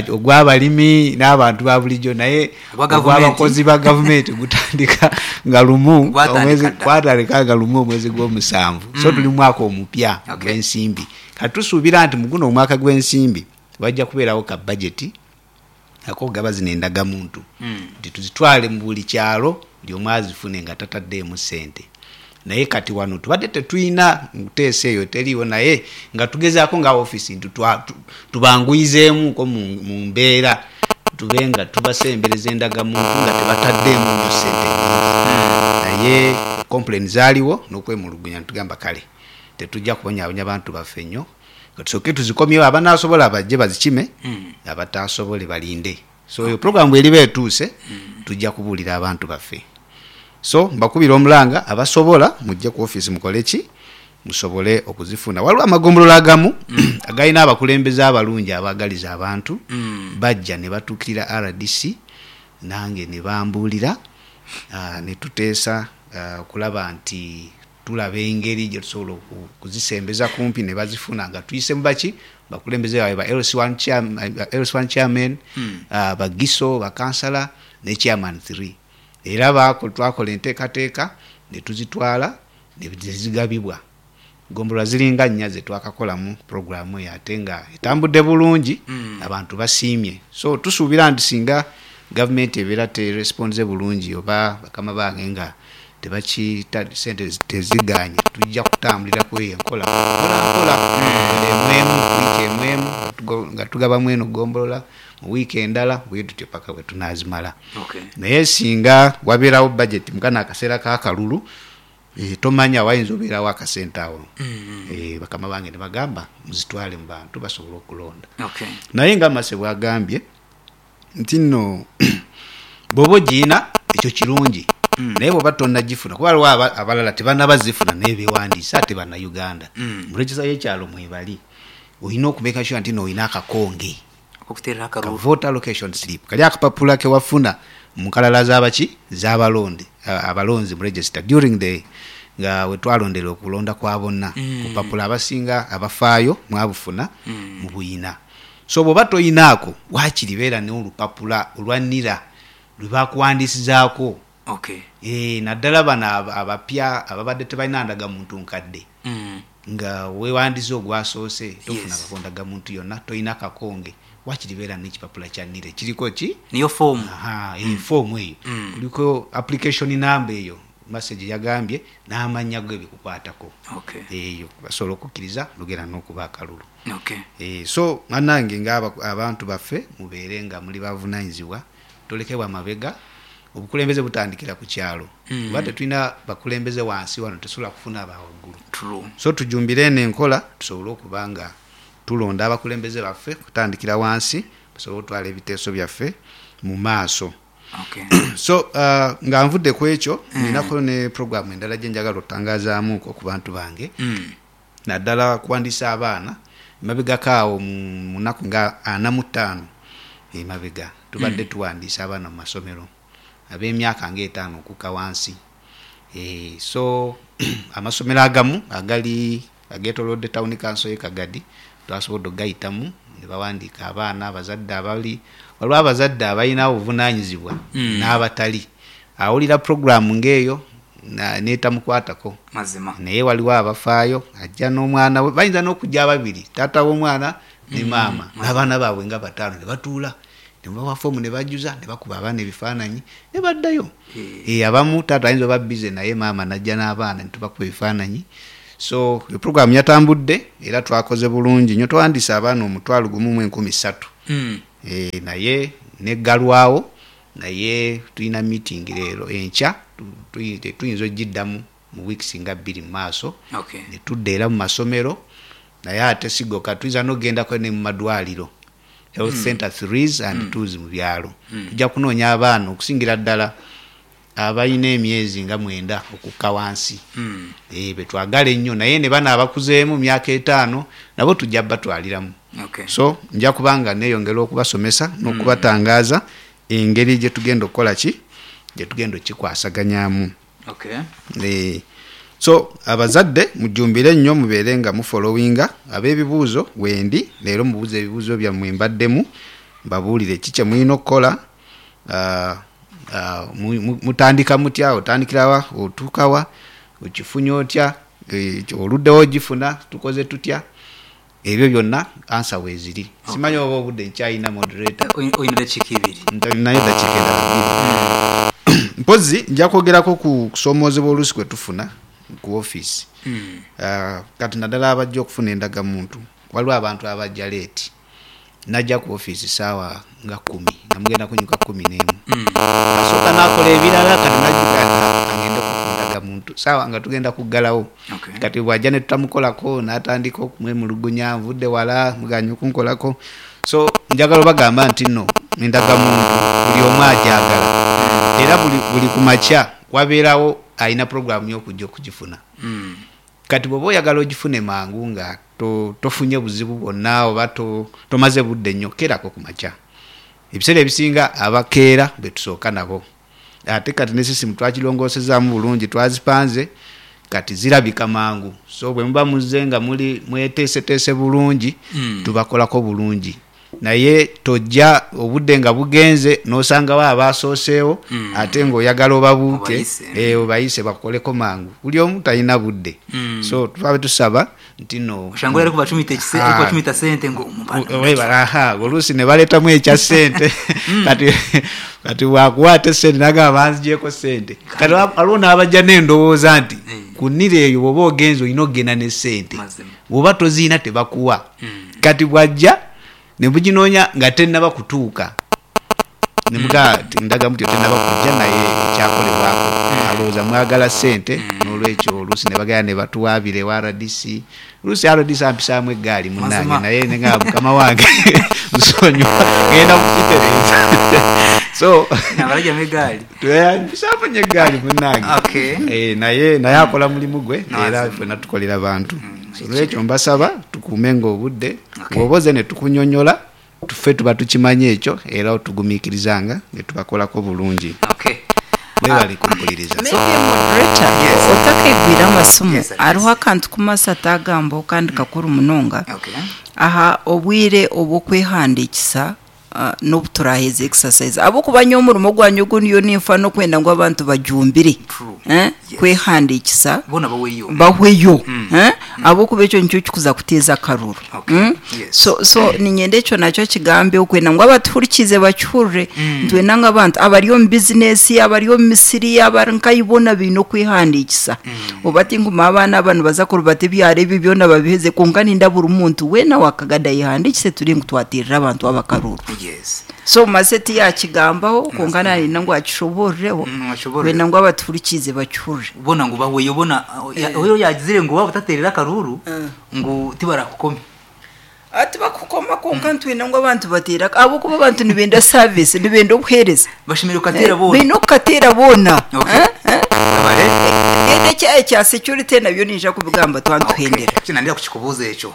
ogw'abalimi n'abantu ba bulijjo, naye Ogwa gavumenti. ogw'abakozi ba gavumenti gutandika nga lumu Gwatandika omwezi- dda. gwatandika nga lumu omwezi gw'omusanvu. So tuli mu mwaka omupya Okay. ogw'ensimbi. Kati tusuubira nti mu guno omwaka gw'ensimbi wajja kubeerawo ka budget ak'okugaba zino endagamuntu, nti tuzitwale mu buli kyalo, buli omu azifune nga tataddeemu ssente. Naye kati wano tubadde tetulina nteesa eyo, teriiwo, naye nga tugezaako nga ofiisi nti twa- tu- tubanguyizeemuko mu mu mbeera, tube nga tubasembereza endagamuntu nga tebataddeemu nnyo ssente nnyingi. Naye complain zaaliwo n'okwemulugunya, ntugamba kale tetujja kubonyaabonya bantu baffe nnyo, nga tusooke tuzikomyewo, abanaasobola bajje bazikime, abataasobole balinde. So eyo program bweriba etuuse, tujja kubuulira abantu baffe. So mbakubira omulanga, abasobola mujje ku office mukole ki, musobole okuzifuna. Waliwo amagombolola agamu agalina abakulembeze abalungi abaagaliza abantu, bajja ne batuukirira R D C nange ne bambuulira, ah, ne tuteesa ah, okulaba nti tulaba engeri gye tusobola oku- kuzisembeza kumpi ne bazifuna nga tuyise mu baki bakulembeze baabwe ba L C one chairman, L C one chairman, ah, bagiso, bakansala ne chairman three. Era baako twakola enteekateeka ne tuzitwala ne zigabibwa. Gombolola ziringa nnya ze twakakolamu programu eyo, ate nga etambudde bulungi, abantu basiimye. So tusuubira nti singa gavumenti ebeera teresponze bulungi oba bakama bange nga tebakita sente teziganye, tujja kutambulira ku eyo enkola mpola mpola, emwemu wiiki emwemu nga tugo- nga tugabamu eno gombolola, mu wiiki endala, bwe tutyo paka bwe tunazimala. Okay. Naye singa wabeerawo budget mukana akaseera k'akalulu, eh, tomanya wayinza obeerawo akasente awo, Eh, bakama bange ne bagamba muzitwale mu bantu basobole okulonda. Okay. Naye nga mase bwagambye nti nno bw'oba ogiina ekyo kirungi, naye bw'oba tonnagifuna, kuba waliwo aba- abalala tebannabazifuna naye bewandiisa ate Bannayuganda mu register y'ekyalo mwebali, olina okumake sure nti noolina akakonge Okuteerera ka akalulu. voter allocation slip, kali akapapula kewafuna mu nkalala z'abaki z'abalonde a- abalonzi mu register during the nga wetwalondera okulonda kwa bonna. Kupapula abasinga abafaayo mwabufuna mu buyina. So bw'oba toyinaako, waakiri beera n'olupapula olwanira lwe bakuwandiisizaako. Okay. Eh, naddala bano aba- abapya ababadde tebalina ndagamuntu nkadde, Mm. nga wewandiise ogwasoose tofuna Yes. kako ndagamuntu yonna, toyina kakonge, wakiri beera n'ekipapula kya NIRA kiriko ki. Niyo foomu. Aha, eh, foomu eyo kuliko application number eyo message yagambye n'amannya go ebikukwatako. Okay. Eyo basobola okukkiriza lugera n'okuba akalulu. Okay. Eh, so bannange nga abantu baffe, mubeere nga muli bavunanyizibwa, tolekebwa mabega. Obukulembeze butandikira ku kyalo, kuba tetulina bakulembeze wansi wano, tesobola kufuna abawaggulu. True. So tujumbire eno enkola tusobole okuba nga tulonda abakulembeze baffe kutandikira wansi, basobole okutwala ebiteeso byaffe mu maaso. Okay. So uh, nga nvudde ku ekyo, ninako ne programu endala gye njagala otangazaamuko ku bantu bange, Mm. naddala kuwandiisa abaana. Emabegako awo mu mu nnaku nga ana mu ttaano emabega tubadde tuwandiisa abaana mu masomero ab'emyaka ngaetaano okukka wansi. Eh, so amasomero agamu agali agetolodde town council ye Kagadi twasobodde okugayitamu ne bawandiika abaana. Abazadde abali waliwo, abazadde abalina obuvunanyizibwa n'abatali, awulira programu ng'eyo na- n'etamukwatako. Mazima. Naye waliwo abafaayo, ajja n'omwana we, bayinza n'okujja ababiri, taata w'omwana ne maama n'abaana baabwe nga bataano, ne batuula Nemubawa foomu ne bajjuza, ne bakuba abaana ebifaananyi ne baddayo. Eh, abamu taata ayinza oba bize, naye maama najja n'abaana ne tubakuba ebifaananyi. So eprogramu yatambudde era twakoze bulungi nnyo, twawandiisa abaana omutwalo gumu mu enkumi ssatu. Mm. Eh, naye neggalwawo, naye tulina meeting leero enkya, tu- tu- tuyinza ogiddamu mu weeks nga bbiri mu maaso. Okay. Ne tudda era mu masomero, naye ate sigoka, tuyinza n'okugendako ne mu madwaliro, health mm. center threes and mm. twos mu byalo. mm. Tujja kunoonya abaana okusingira ddala abalina emyezi nga mwenda okukka wansi. Mm. Eh, betwagala ennyo, naye ne bano abakuzeemu myaka etaano nabo tujja batwaliramu. Okay. So nja kubanga neeyongera okubasomesa n'okubatangaaza engeri gye tugenda okukola ki, gye tugenda okikwasaganyamu. Okay. Eh, so abazadde mujjumbire nnyo, mubeere nga mufollowinga. Ab'ebibuuzo wendi leero, mubuuze ebibuuzo byammwe mbaddemu, mbabuulire ki kye mulina okukola. Ah, ah, mu- mu- mutandika mutya, otandikirawa, otuukawa, okifunye otya, eh, oluddewo ogifuna, tukoze tutya, ebyo byonna ansa weeziri. Simanyi oba obudde nkyalina, moderator? Oyi- oyina dakiika ibiri. Naye dakiika endala bbiri mpozi nja kwogerako ku kusoomoozebwa oluusi kwe tufuna ku ofiisi. Mm. Ah, kati naddala abajja okufuna endagamuntu, waliwo abantu abajja late, najja ku ofiisi saawa nga kumi, nga mugenda kunyuka kumi n'emu, Mm. asooka nakola ebirala, kati najjuka agendeko ku ndagamuntu saawa nga tugenda kuggalawo. Okay. Kati bwajja ne tutamukolako, n'atandika okumwemulugunya, nvudde wala muganye okunkolako. So njagala obagamba nti nno endagamuntu buli omu ajagala, era buli, buli ku makya wabeerawo alina puroguramu y'okujja okugifuna. Mm. Kati bw'oba oyagala ogifune mangu nga to- tofunye buzibu bwonna oba to- tomaze budde nnyo, keerako ku makya. Ebiseera ebisinga abakeera betusooka nabo. Ate kati ne sisimu twakirongosezaamu bulungi, twazipanze, kati zirabika mangu. So bwe muba muzze nga muli mweteeseteese bulungi, Mm. tubakolako bulungi. Naye tojja obudde nga bugenze n'osangawo abasooseewo, Mm. ate ng'oyagala obabuuke. Obayise. eh, obayise bakoleko mangu, buli omu talina budde. Mm. So twabe tusaba nti no Oshanga ari kubacumita ekise, Ah. ari kubacumita sente ngo umupanda. webala, aha, oluusi ne baleetamu ekya sente. Kati kati bwakuwa ate sente nagamba banzigyeko sente. Kati wa- waliwo n'abajja n'endowooza nti Mm. ku nniro eyo bw'oba ogenze olina okugenda ne sente, Mazima. bw'oba toziina tebakuwa. Mm. Kati bw'ajja ne buginoonya nga tennaba kutuuka, nemugaa ndaga mutyo tennaba kujja, naye ekyakolebwako alowooza mwagala sente. N'olwekyo oluusi ne bagenda ne batuwaabira ewa R D C. Oluusi R D C ampisaamu eggaali munnange, Mazima. naye nenga mukama wange nsonyiwa, ngenda kukitereeza. So Nabarajya megali. mpisaamu nyo eggaali munnange. Okay. Eh, naye naye akola mulimu gwe, No, era azima. ffenna tukolera bantu. So olwekyo mbasaba tukuume nga obudde. Okay. Bw'oba oze ne tukunyonyola, tuffe tuba tukimanyi ekyo, era otugumiikirizanga ne tubakolako bulungi. Okay. Mwebale kumpuliriza. Maybe moderator, Yes. otakegwira amasimu, Yes, yes. hariho akantu kumasa atagambaho kandi kakuru munonga. Okay. Aha obwire obwokwehandikisa, uh, n'obuturaheza exercise, abokuba nyo omurimo gwanyu ogu niyo ninfa n'okwenda ngu abantu bajumbire. True. Eh? Yes. Kwehandikisa Bona baweyo. bahweyo. Mm. Eh? Abokuba ekyo nikyo kikuza kuteeza akaruru. Okay. Mm? Yes. so so ninyenda ekyo nakyo kigambe, okwenda ngu abatuhurikize bakihurire. Mm. Ntwenda ngu abantu abari omu bizinesi, abari omu misiri, abari nkayibona biine okwehandikisa. Oba tinguma abaana abantu baza kurubata ebyaro ebi byona babiheze, konka ninda buri muntu weena wakagada yehandikise, turi ngu twatirira abantu abakaruru. Yes. So mase tiyakigambaho, konka naninda ngu akishoborereho. Mm, akishoborere. Kwenda ngu abatuhurikize bakihurire. Bona ngo baweyo, bona oyo yagizire ngo waba utaterera akaruru ngo tibarakukome. Ati bakukoma, konka ntwine ngu abantu batera, abokuba abantu nibenda service, nibenda obuhereza. Bashimira ukatera bona. Bine okukatera boona. Okay. Eh? Eh? Babare. Genda ekyayi kya security nabyo ninja kubigamba twantuhendera. Okay. Kino ndenda kukikubuza ekyo.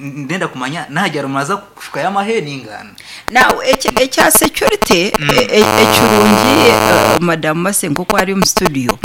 Ndenda kumanya nahagera mumaza kushuka y'amahe n'ingano. Now ekya ekya security, e- e- ekirungi, eh, madamu Mase nk'oku ari omu studio,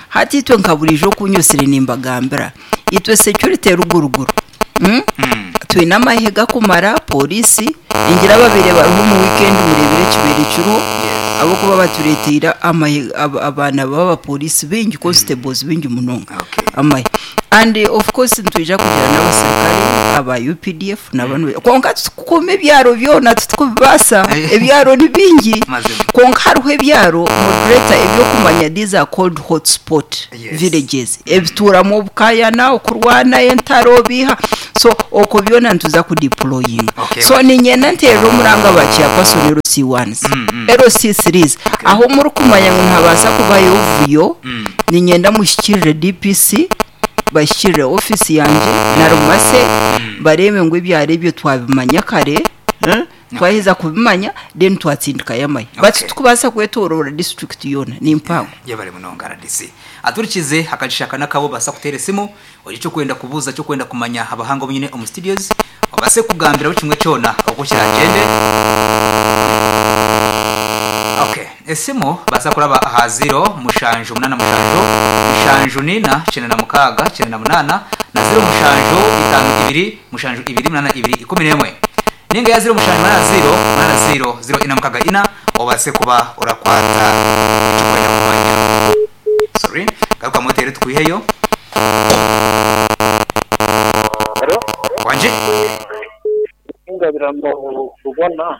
hati itwe nka burijo okunyusire nimbagambira itwe security eruguruguru. Mm? Mm. Twine amahe gakumara polisi ingira babiri bariho mu weekend, murebere ekibere kiriho. Yes. Abokuba batureteire amahe, ab- abaana b'abapolisi bingi, constables bingi munonga. Okay. Amahe and eh, of course nitwija kugira n'abasirikare aba U P D F n'abanu, konka tukukuuma ebyaro byona tutukubibasa. Ebyaro ni bingi. Mazima. Konka hariho ebyaro, moderator, ebyokumanya, these are called hotspot Yes. villages, ebituramu obukayana, okurwana, entaro biha, so okwo byona nituza kudeployinga. Okay. So ninyenda nterera omuranga ba chairperson L C ones, L C threes, aho muri kumanya ngu nihabaasa kubayo obuvuyo, ninyenda mushikirire D P C, bashyikirire ofisi yangye na rumase, barebe ngu ebyaro ebyo twabimanya kare, eh? Twaheza kubimanya, then twatsindikayo amahe. Okay. But tukubaasa kwetorora district yoona ni mpango. Yebale munonga R D C. Aturikize akagishaka nakabo basa kutera esimu oyo cyo kwenda kubuza, cyo kwenda kumanya abahanga nyine omu studios obase kugambira buri kimwe cyona uko kiragende. Okay, esimu basa kuraba aha zero mushanju munana mushanju mushanju nina cyenda na mukaga cyenda na munana na zero mushanju itanu ibiri mushanju ibiri munana ibiri ikumi n'emwe ninga ya zero mushanju munana zero munana zero zero ina mukaga ina, obase kuba urakwata icyo kwenda kumanya. Sorry, garuka motere twiheyo. Halo, wanje. Ngabirano Rubona.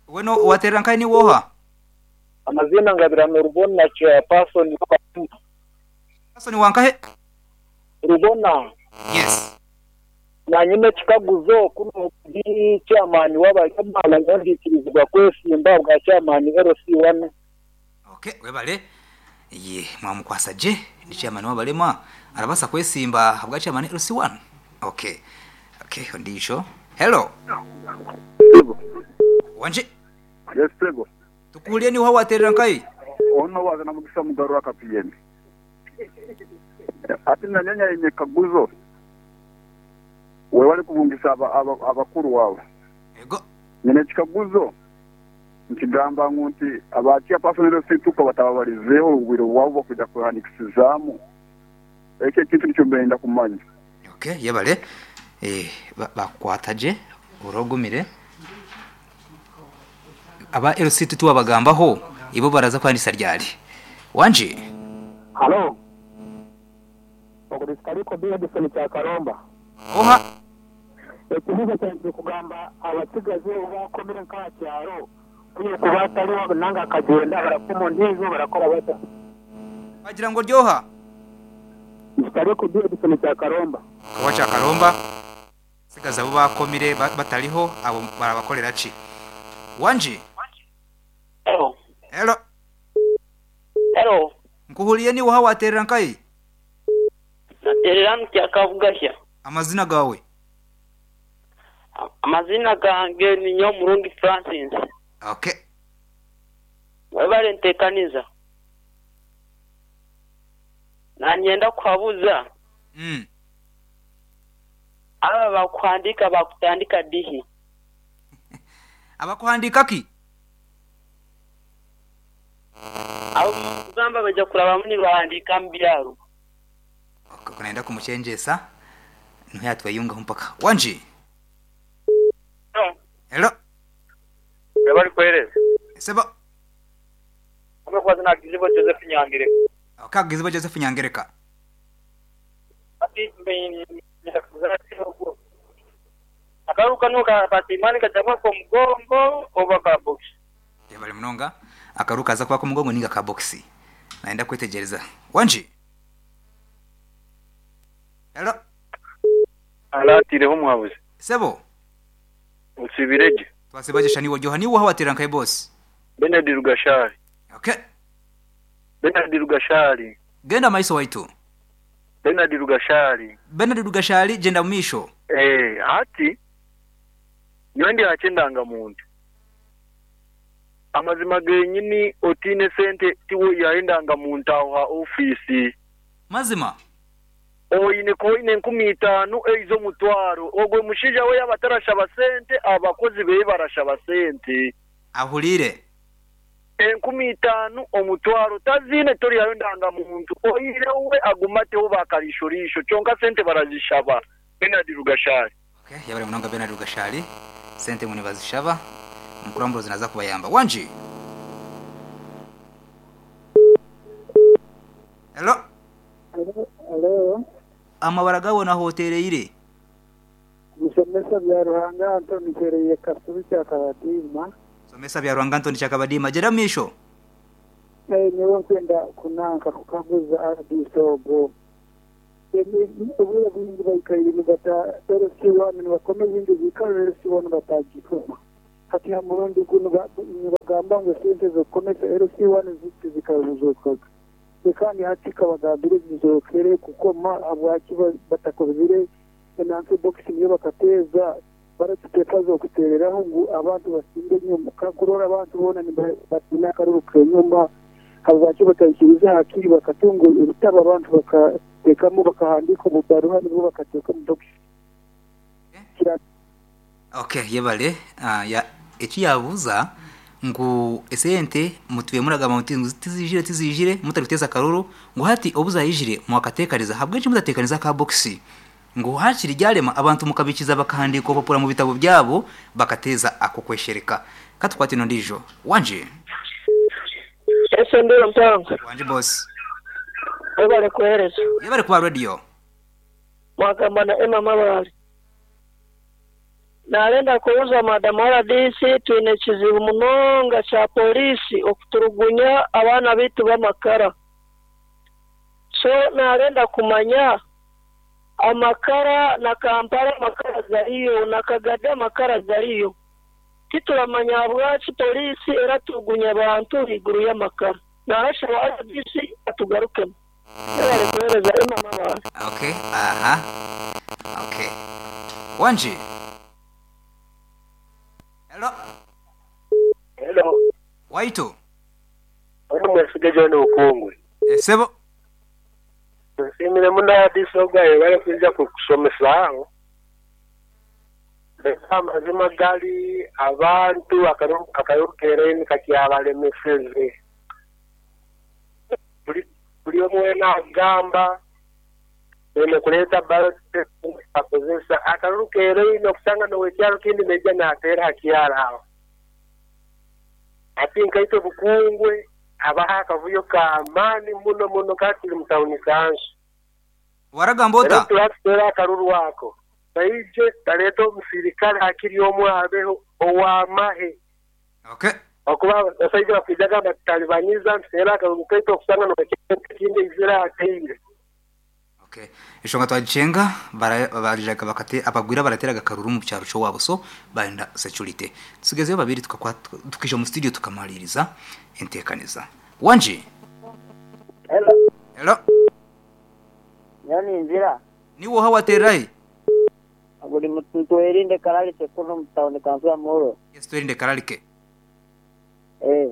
Weno waterera nkai ni woha? Amazina Ngabirano Rubona, chairperson. Person wankahe? Rubona. Yes. Nanyine kikaguzo kuno ndi chairman w'abayamala ngandikirizibwa kwesimba bwa chairman L C one. Okay, webale. Ye mwamukwasa je ni chairman w'abalema arabasa kwesimba bwa chairman L C one. Okay okay ndisho. Hello, wanje. Yes, Prego. Tukulie ni woha waterera nkai? Ono wazana mugisa mugaru akapiyeni. Ati nanyanya yenye kaguzo. Wewali kubungisa aba- aba- abakuru wawe. Ego. Nyene kikaguzo. Nkigamba ngu nti abakia personal situka batababalizeho urugwiro rwabo kujya kuhanikisizamu. Ekyo ekintu nikyo mbenda kumanya. Okay, yebale. Eh, ba- bakwata je urogumire aba L C tuwabagambaho ibo baraza kwandisa ryari, wanje? Halo. Okudiskaliko Edison kya Karomba. Oha? Ekibuzo kyange kugamba abasigazi bakomere nka kyaro kuye kuba atariho nanga akagenda barakoma ndizo barakora bata. Wagira ngo ryoha? Nkitariko Edison cya Karomba. Kawa cya Karomba, sigaza abo bakomire ba- batariho abo barabakorera ki, wanje? Hello. Hello. Hello. Nkuhuliye ni woha waterera nkai? Naterera mu kyakavugahya. Amazina gawe? Amazina gange ni Nyomurungi Francis. Okay. Webale ntekaniza. Nanyenda kuhabuza mm. aba bakuhandika bakutandika dihi? Abakuhandika ki? Abo kugamba baja kurabamu nibahandika mu byaro. Okay, kunaenda kumuchenjesa niho yatweyungaho mpaka, wanje? Hello. Webali kwereza. Seba. Amekwaza na Kizibo Joseph Nyangire. Kagizibo Joseph Nyangereka. Ati akaruka nuka patimani kajama ko mugongo oba ka box. Yabali munonga. Akaruka aza kuba ku mugongo ninga ka box, naenda kwetegereza, wanje? Hello. Alatireho muhabuzi. Sebo. Usibireje. Twasibaje ni wojoha ni woha watera nkai boss? Benard Rugashari. Okay. Benard Rugashari. Genda maiso waitu. Benard Rugashari. Benard Rugashari, genda mumisho. Eh, ati niwe ndi hakendanga muntu amazima genyini otine sente tiwe yaendanga muntu aho ha ofisi. Mazima. Oine koine enkumi itaano ez'omutwaro ogwo mushaija we yaba atarashaba sente, abakozi beye barashaba sente. Ahulire. Enkumi itaano, omutwaro tazine toriyayo ndangamuntu oire we agumateho bakarishorisho kyonka sente barazishaba. Benard Rugashari. Okay, yabali munonga Benard Rugashari. Sente muni bazishaba, mukuru zinaza kubayamba, wanji? Hello. Hello. Amabara gawe nahotereire. Musomesa bya Ruhanga Antoni Kereye Kasubi kya Kabadima. Somesa bya Ruhanga Antoni kya Kabadima. Jera misho. Eh nyewe nkwenda kunanka kukaguza R D C ogo. Obwire bwingi baikaire nibata L C one nibakomeza indi bikaro L C one batagikoma. Hati ha murundi guno nibagamba ngu sente zokukomesa L C one zikaruzokaga. Kandi hati kabagambire zizokere kukoma abwaki batakozire enansi box niyo bakateza baratuteka zo kutereraho ngu abantu basinde nyuma kakurora abantu bona batina karuka nyuma habwaki batayikiriza hakiri bakatunga ibitabo abantu bakatekamo bakahandika ububaruha nibwo bakateka mu box. Okay, yebale uh, ya eki yabuza ngu esente mutuye muragamba muti tizijire tizijire mutaruteza karuru ngu hati obuza yijire mwakatekaniza habwenki mutatekaniza ka box ngu hakiri ryarema abantu mukabikiza bakahandika opapura mu bitabo byabo bakateza ako kweshereka katukwati no ndijo wanje ese ndero mpango wanje boss ebale kuhereza yebale kwa radio mwakamba na Emma Mabali Nalenda kuuza Madam R D C twine kizibu munonga cha polisi okuturugunya abaana bitu b'amakara. So nalenda kumanya amakara na Kampala amakara gariyo na Kagada amakara gariyo. Tituramanya bwachi polisi eratugunya abantu iguru y'amakara. Narashaba R D C atugarukemo. Yabale kuhereza Emma Mabali. Okay, aha. Okay. Wanji. Hello. Hello. Waito. Ono mwesige John Ukungwe. Esebo. Nsimire muna disoga ebale kuja kukusomesa aho. Leka amazima gali abantu akarukereni kakyabalemeseze. Buli buli omwe nagamba bene kuleta ballot akozesa akarukereni okusanga nowekyalo kindi meja natera hakyala aho. Ati nkaito Bukungwe abaha akavuyo ka amani muno muno kati mutauni kanshi. Waragambota turatera akaruru wako. Baije taleto musirikale hakiri omwe abeho owamahe. Okay. Okuba basaija bakujaga batalibaniza ntera akaruru kaito okusanga nowekyalo kindi izira ateire. Okay. Ishonga twajenga barajaga bakate abagwira barateraga karuru mu cyaro cyo wabo so baenda security. Tusigezeyo babiri tukakwa tukije mu studio tukamaliriza entekaniza. Wanji. Hello. Hello. Yani nzira. Ni wo hawaterai? Aguri mutwerinde karalike kuno mutaone kanzu amoro. Yes twerinde karalike. Eh.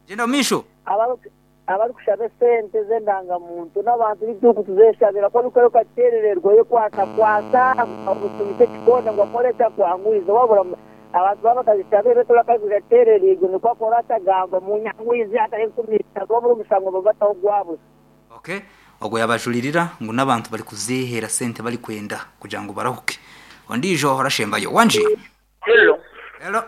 Jenda misho. Abaru abari kushaba sente zendanga muntu n'abantu b'igihugu tuzeshabira ko bikore katerererwa yo kwasa kwasa gutumite kikonda ngo akoreta kwangwiza wabura abantu baba kazishabira beto kazigaterererwa niko akora atagamba mu nyangwizi atari kumita wabura umusango babataho gwabo. Okay, ogwo yabajulirira ngo n'abantu bari kuzihera sente bari kwenda kugira ngo barahuke. Ondijo horashembayo wanje. Hello. Hello.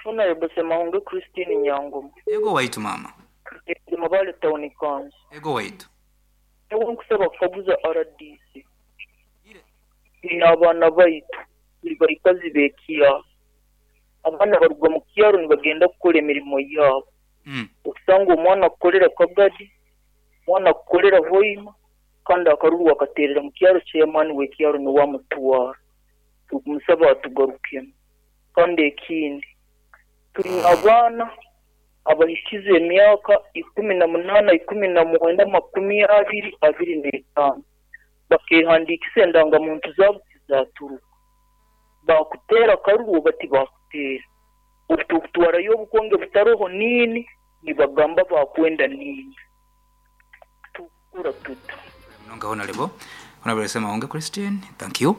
Funa yobose mahungu Christine Nyangoma. Yego waitu mama. Mabale town kanzu. Ego waitu. Ego nkusaba kukaguza R D C. N'abaana baitu turi barikazi b'ekiyaro. Abaana baruga mu kiyaro nibagenda kukora emirimo yabo. Mm. Okusanga omwana akukorera Kagadi, omwana akukorera Hoima, kandi akaruru akaterera mu kiyaro chairman w'ekiyaro niwe amutwara. Tukumusaba atugarukemu. Kandi ekindi turi abaana abahikize emyaka ikumi na munana ikumi na mwenda makumi abiri abiri n'etaano bakehandikisa endangamuntu zaabo tizaturuka bakutera karuru bati bakutera obutukutwarayo obukonge butaroho nini nibagamba bakwenda nini tukura tuta Mnonga honorable honorable sema onge Christine, thank you.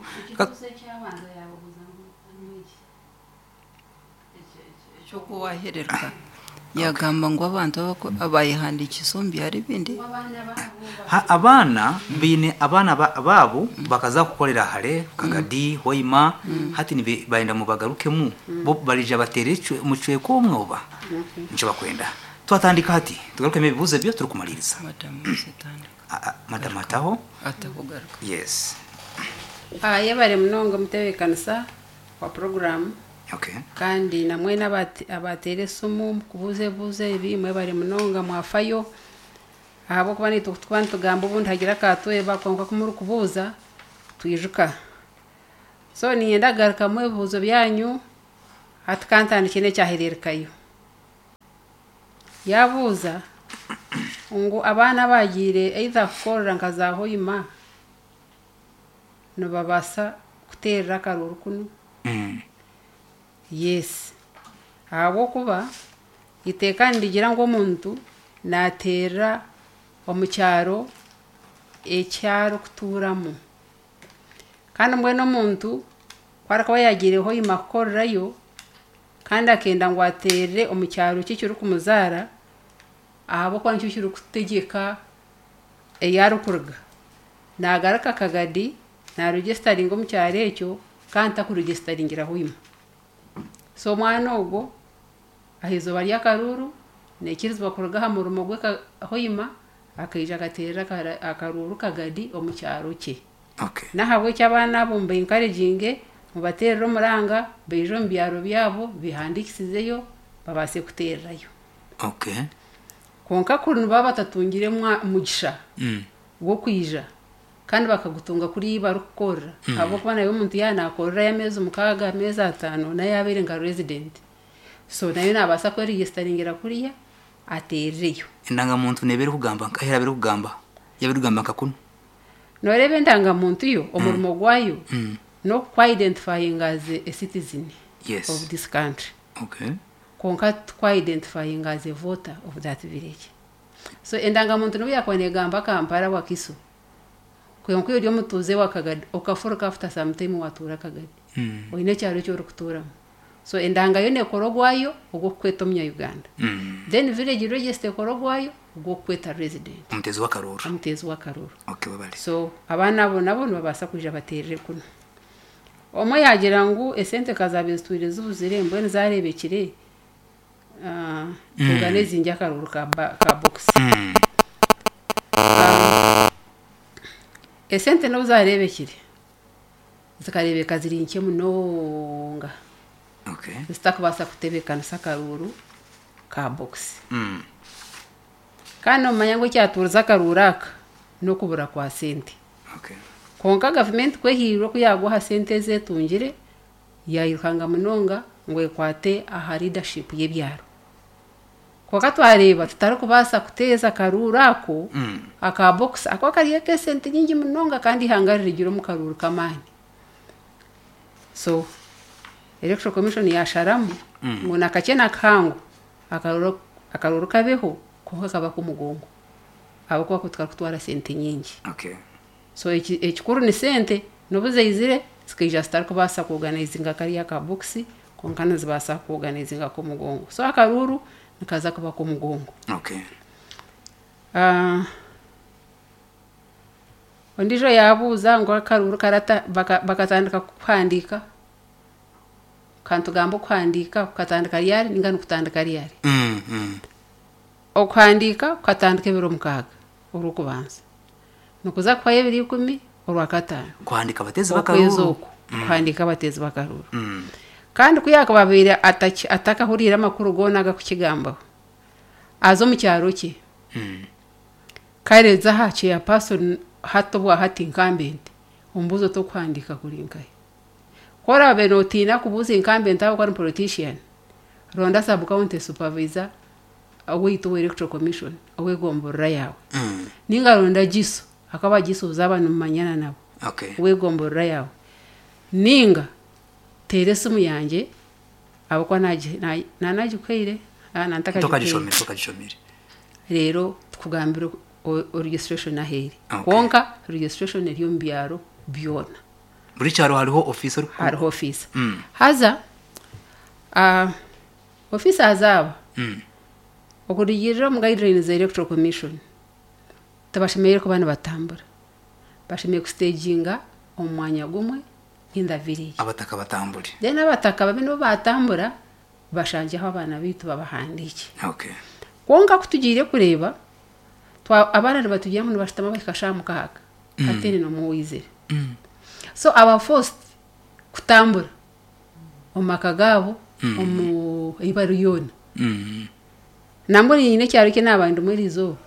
Chokuwahererwa yagamba ngo abantu abayihandikisa ombi bindi ha abana bine abana babo bakaza kukolera hale Kagadi Hoima hati ni baenda mu bagarukemu bo barija batere mucweko omwoba nico bakwenda. Twatandika hati tugarukemu ebibuuzo ebyo turikumaliriza. Madamu zitandika Ah, ah, madamu ataho. Atakugaruka. Yes. Ah, yebare munonga mutebeekanisa wa puroguramu. Okay. Kandi namwe n'abate- abateera esimu mukubuuza ebibuuzo ebi, mwebare munonga mwafayo, ahabw'okuba naitwe kutukuba nitugamba obundi hagira akatweba, kwonka kumurikubuuza twijuka. So niinyenda kugarukamu ebibuuzo byanyu. Hati kantandike n'ekyahereerekayo. Yabuuza ngu abaana abagiire either kukorera nka za Hoima nibabaasa kuteerera akaruuru kunu? Mm. Yes, ahabw'okuba iteeka nirigira ngu omuntu naateerera omu kyaro ekyarikutuuramu, kandi mbwenu omuntu ku arikuba yagiire Hoima kukorerayo kandi akenda ngu ateerere omu kyaro kye ekirikumuzaara, ahabw'okuba nikyo kirikutegyeka ei arikuruga, naagaruka Kagadi naaregisitaringa omu kyaro ekyo kandi takuregisitaringira Hoima. So omwana ogwo aha izooba ry'akaruuru naikirizibwa kuruga aha murimo gwe ka- Hoima akaija akateerera akara- akaruuru Kagadi omu kyaro kye. Okay. N'ahabw'ekyo abaana abo mubenkareginge, mubateerere omuranga baije omu byaro byabo bihandikisizeyo babaase kuteererayo. Okay. Kwonka kuri nibaba batatungire mwa- mugisha Mm. gw'okwija kandi bakagutunga kuri barikukorera, ahabw'okuba nayo omuntu yaaba naakorerayo ameezi mukaaga, ameezi ataano, nayo yaaba nka resident, so nayo naabaasa kweregisitaringira kuriya ateerereyo. Endangamuntu neeba erikugamba nka era erikugamba yaba erikugamba nka kunu. Nooreeba endangamuntu yo omurimo gwayo Mm. n'okukwidentifyinga as a citizen Yes. of this country, Okay. kwonka tukwidentifyinga as a voter of that village. So endangamuntu nibu yakuba negamba Kampala, Wakiso, kwonka ori omutuuze wa Kagadi, okafuruka after some time watuura Kagadi, Mm. oine ekyaro eki orikutuuramu. So endanga yo nekora ogwayo ogw'okukweta omunya-Uganda. Mm. Then village register ekora ogwayo ogw'okukweta resident, omutezi w'akaruuru. Omuteezi w'akaruuru. Okay, webale. So abaana abo nabo nibabaasa kwija bateerere kuno. Omwe yagira ngu esente kazabe zitwire zibuzire, mbwenu zareebekire ah, organizing akaruuru ka, ba- ka box. Mm. Ah, esente n'obu zareebekire zikareebeka ziri nkye munonga, Okay. zitakubaasa kutebeekanisa akaruuru ka box. Mm. Kandi nomanya ngu ekyatuuriza akaruuru aka n'okubura kwa sente. Okay. Kwonka gavumenti kwehiirwe oku yaagwa aha sente ezetungire, yayirukanga munonga ngu ekwate aha leadership y'ebyaro, kwonka twareeba tutarikubaasa kuteeza akaruuru ako Mm. aka box ako kariyo ak'esente nyingi munonga, kandi ihanga ririgire omu karuuru k'amaani. So Electoral Commission yasharamu Mm. ngu nakakye nakahango akaruuru akaruuru kabeho, konka kaba k'omugongo, ahabw'okuba ko tukarikutwara sente nyingi. Okay. So eki- ekikuru ni sente. N'obu zaizire zikaija zitarikubaasa kuorganizinga kariya ka box, konka nizibaasa kuorganizinga k'omugongo. So akaruuru nikaza kuba k'omugongo. Okay. Ah, ondiijo yabuuza ngu akaruuru karata baka- bakatandika kuhandiika, kantugamba okuhandiika kukatandika ryari ninga nikutandika ryari? Mm. Mm. Okuhandiika kukatandika ebiro mukaaga orw'okubanza, nikuza kuhwayo ebiro ikumi orwakataano. Kuhandika abatezi okwezi b'akaruuru. Oku kuhandiika abateezi b'akaruuru. Mm. Kandi ku yakababaire ataki- atakahuriire amakuru goona agakukigambaho, aza omu kyaro kye, Mm. kareza aha chairperson hati obwa hati incumbent, omubuuzo tokuhandiika kuri nkahe. Ku oraabe nootiina kubuuza incumbent ahabw'okuba ni politician, ronda sub county supervisor owaitu owa Electoral Commission ow'egomborora yaawe, Mm. ninga ronda giso akaba gisuuza aba nimumanyana nabo Okay. ow'egomborora yaawe, ninga teera esimu yangye ahabw'okuba nagi- na- nanagikuhaire. Ah, nantakagikuhaire. Tokagishomire, tokagishomire. Rero tukugambire o- o registration aheeri. Okay. Kwonka registration eri omu byaro byona. Buri kyaro hariho office ori. Hariho ofiisa. Mm. Haza ah, ofiisa azaaba Mm. okurugirira omu guidelines za Electoral Commission, tibashemereire kuba nibatambura, bashemereire kustaginga omu mwanya gumwe in the village. Abataka batambure. Then abataka babe nibo batambura, bashangyeho abaana baitu babahandiike. Okay. Kwonka kutugiire kureeba twa- abaana nibatugira ngu nibashutama bahika shaaha mukaaga hataine n'omwe owaizire. So aba forced kutambura omu maka gaabo omu ei bari yoona. Mm. Nambwo nyine ekyaro kye naaba ndimu eriizooba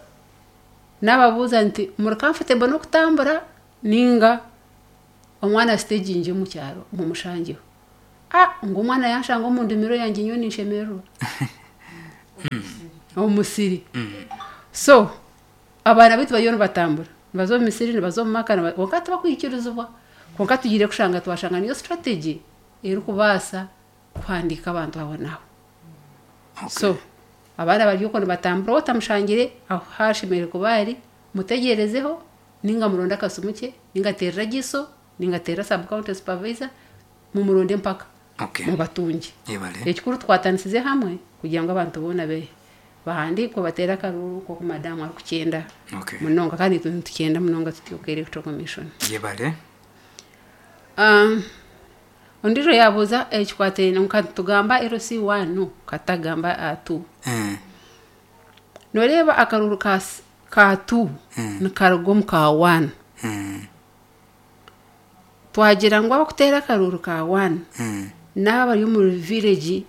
naababuuza nti muri comfortable n'okutambura ninga omwana sitegingi omu kyaro mumushangeho. Ah, ngu omwana yanshanga omu ndimiro yangye nyowe ninshemererwa omu musiri. So abaana baitu bariyo nibatambura nibaza omu misiri, nibaza omu maka, niba- kwonka tibakwikirizibwa. Kwonka tugiire kushanga twashanga niyo strategy erikubaasa kuhandiika abantu aho n'aho. So abaana bari okwo nibatambura, otamushangire aho hashemereire kuba ari, mutegyerezeho ninga muronde akasimu ke, ninga ateerera giso, ninga ateerera sub county supervisor, mumuronde mpaka Okay. mubatunge. Yebale. Ekikuru tukwatanisize hamwe kugira ngu abantu boona be bahandiikwe bateere akaruru nk'oku madamu arikukyenda Okay. munonga, kandi itwe nitukyenda munonga tutyo electoral commission. Yebale. Um, ondiijo yabuuza ekikwatiraine nka tugamba L C one katagamba uh, two. Eh. Noreeba akaruru ka, s- ka two nikaruga omu ka one. Mm. Twagira ngu abakuteera akaruru ka one Mm. n'aba bari omu village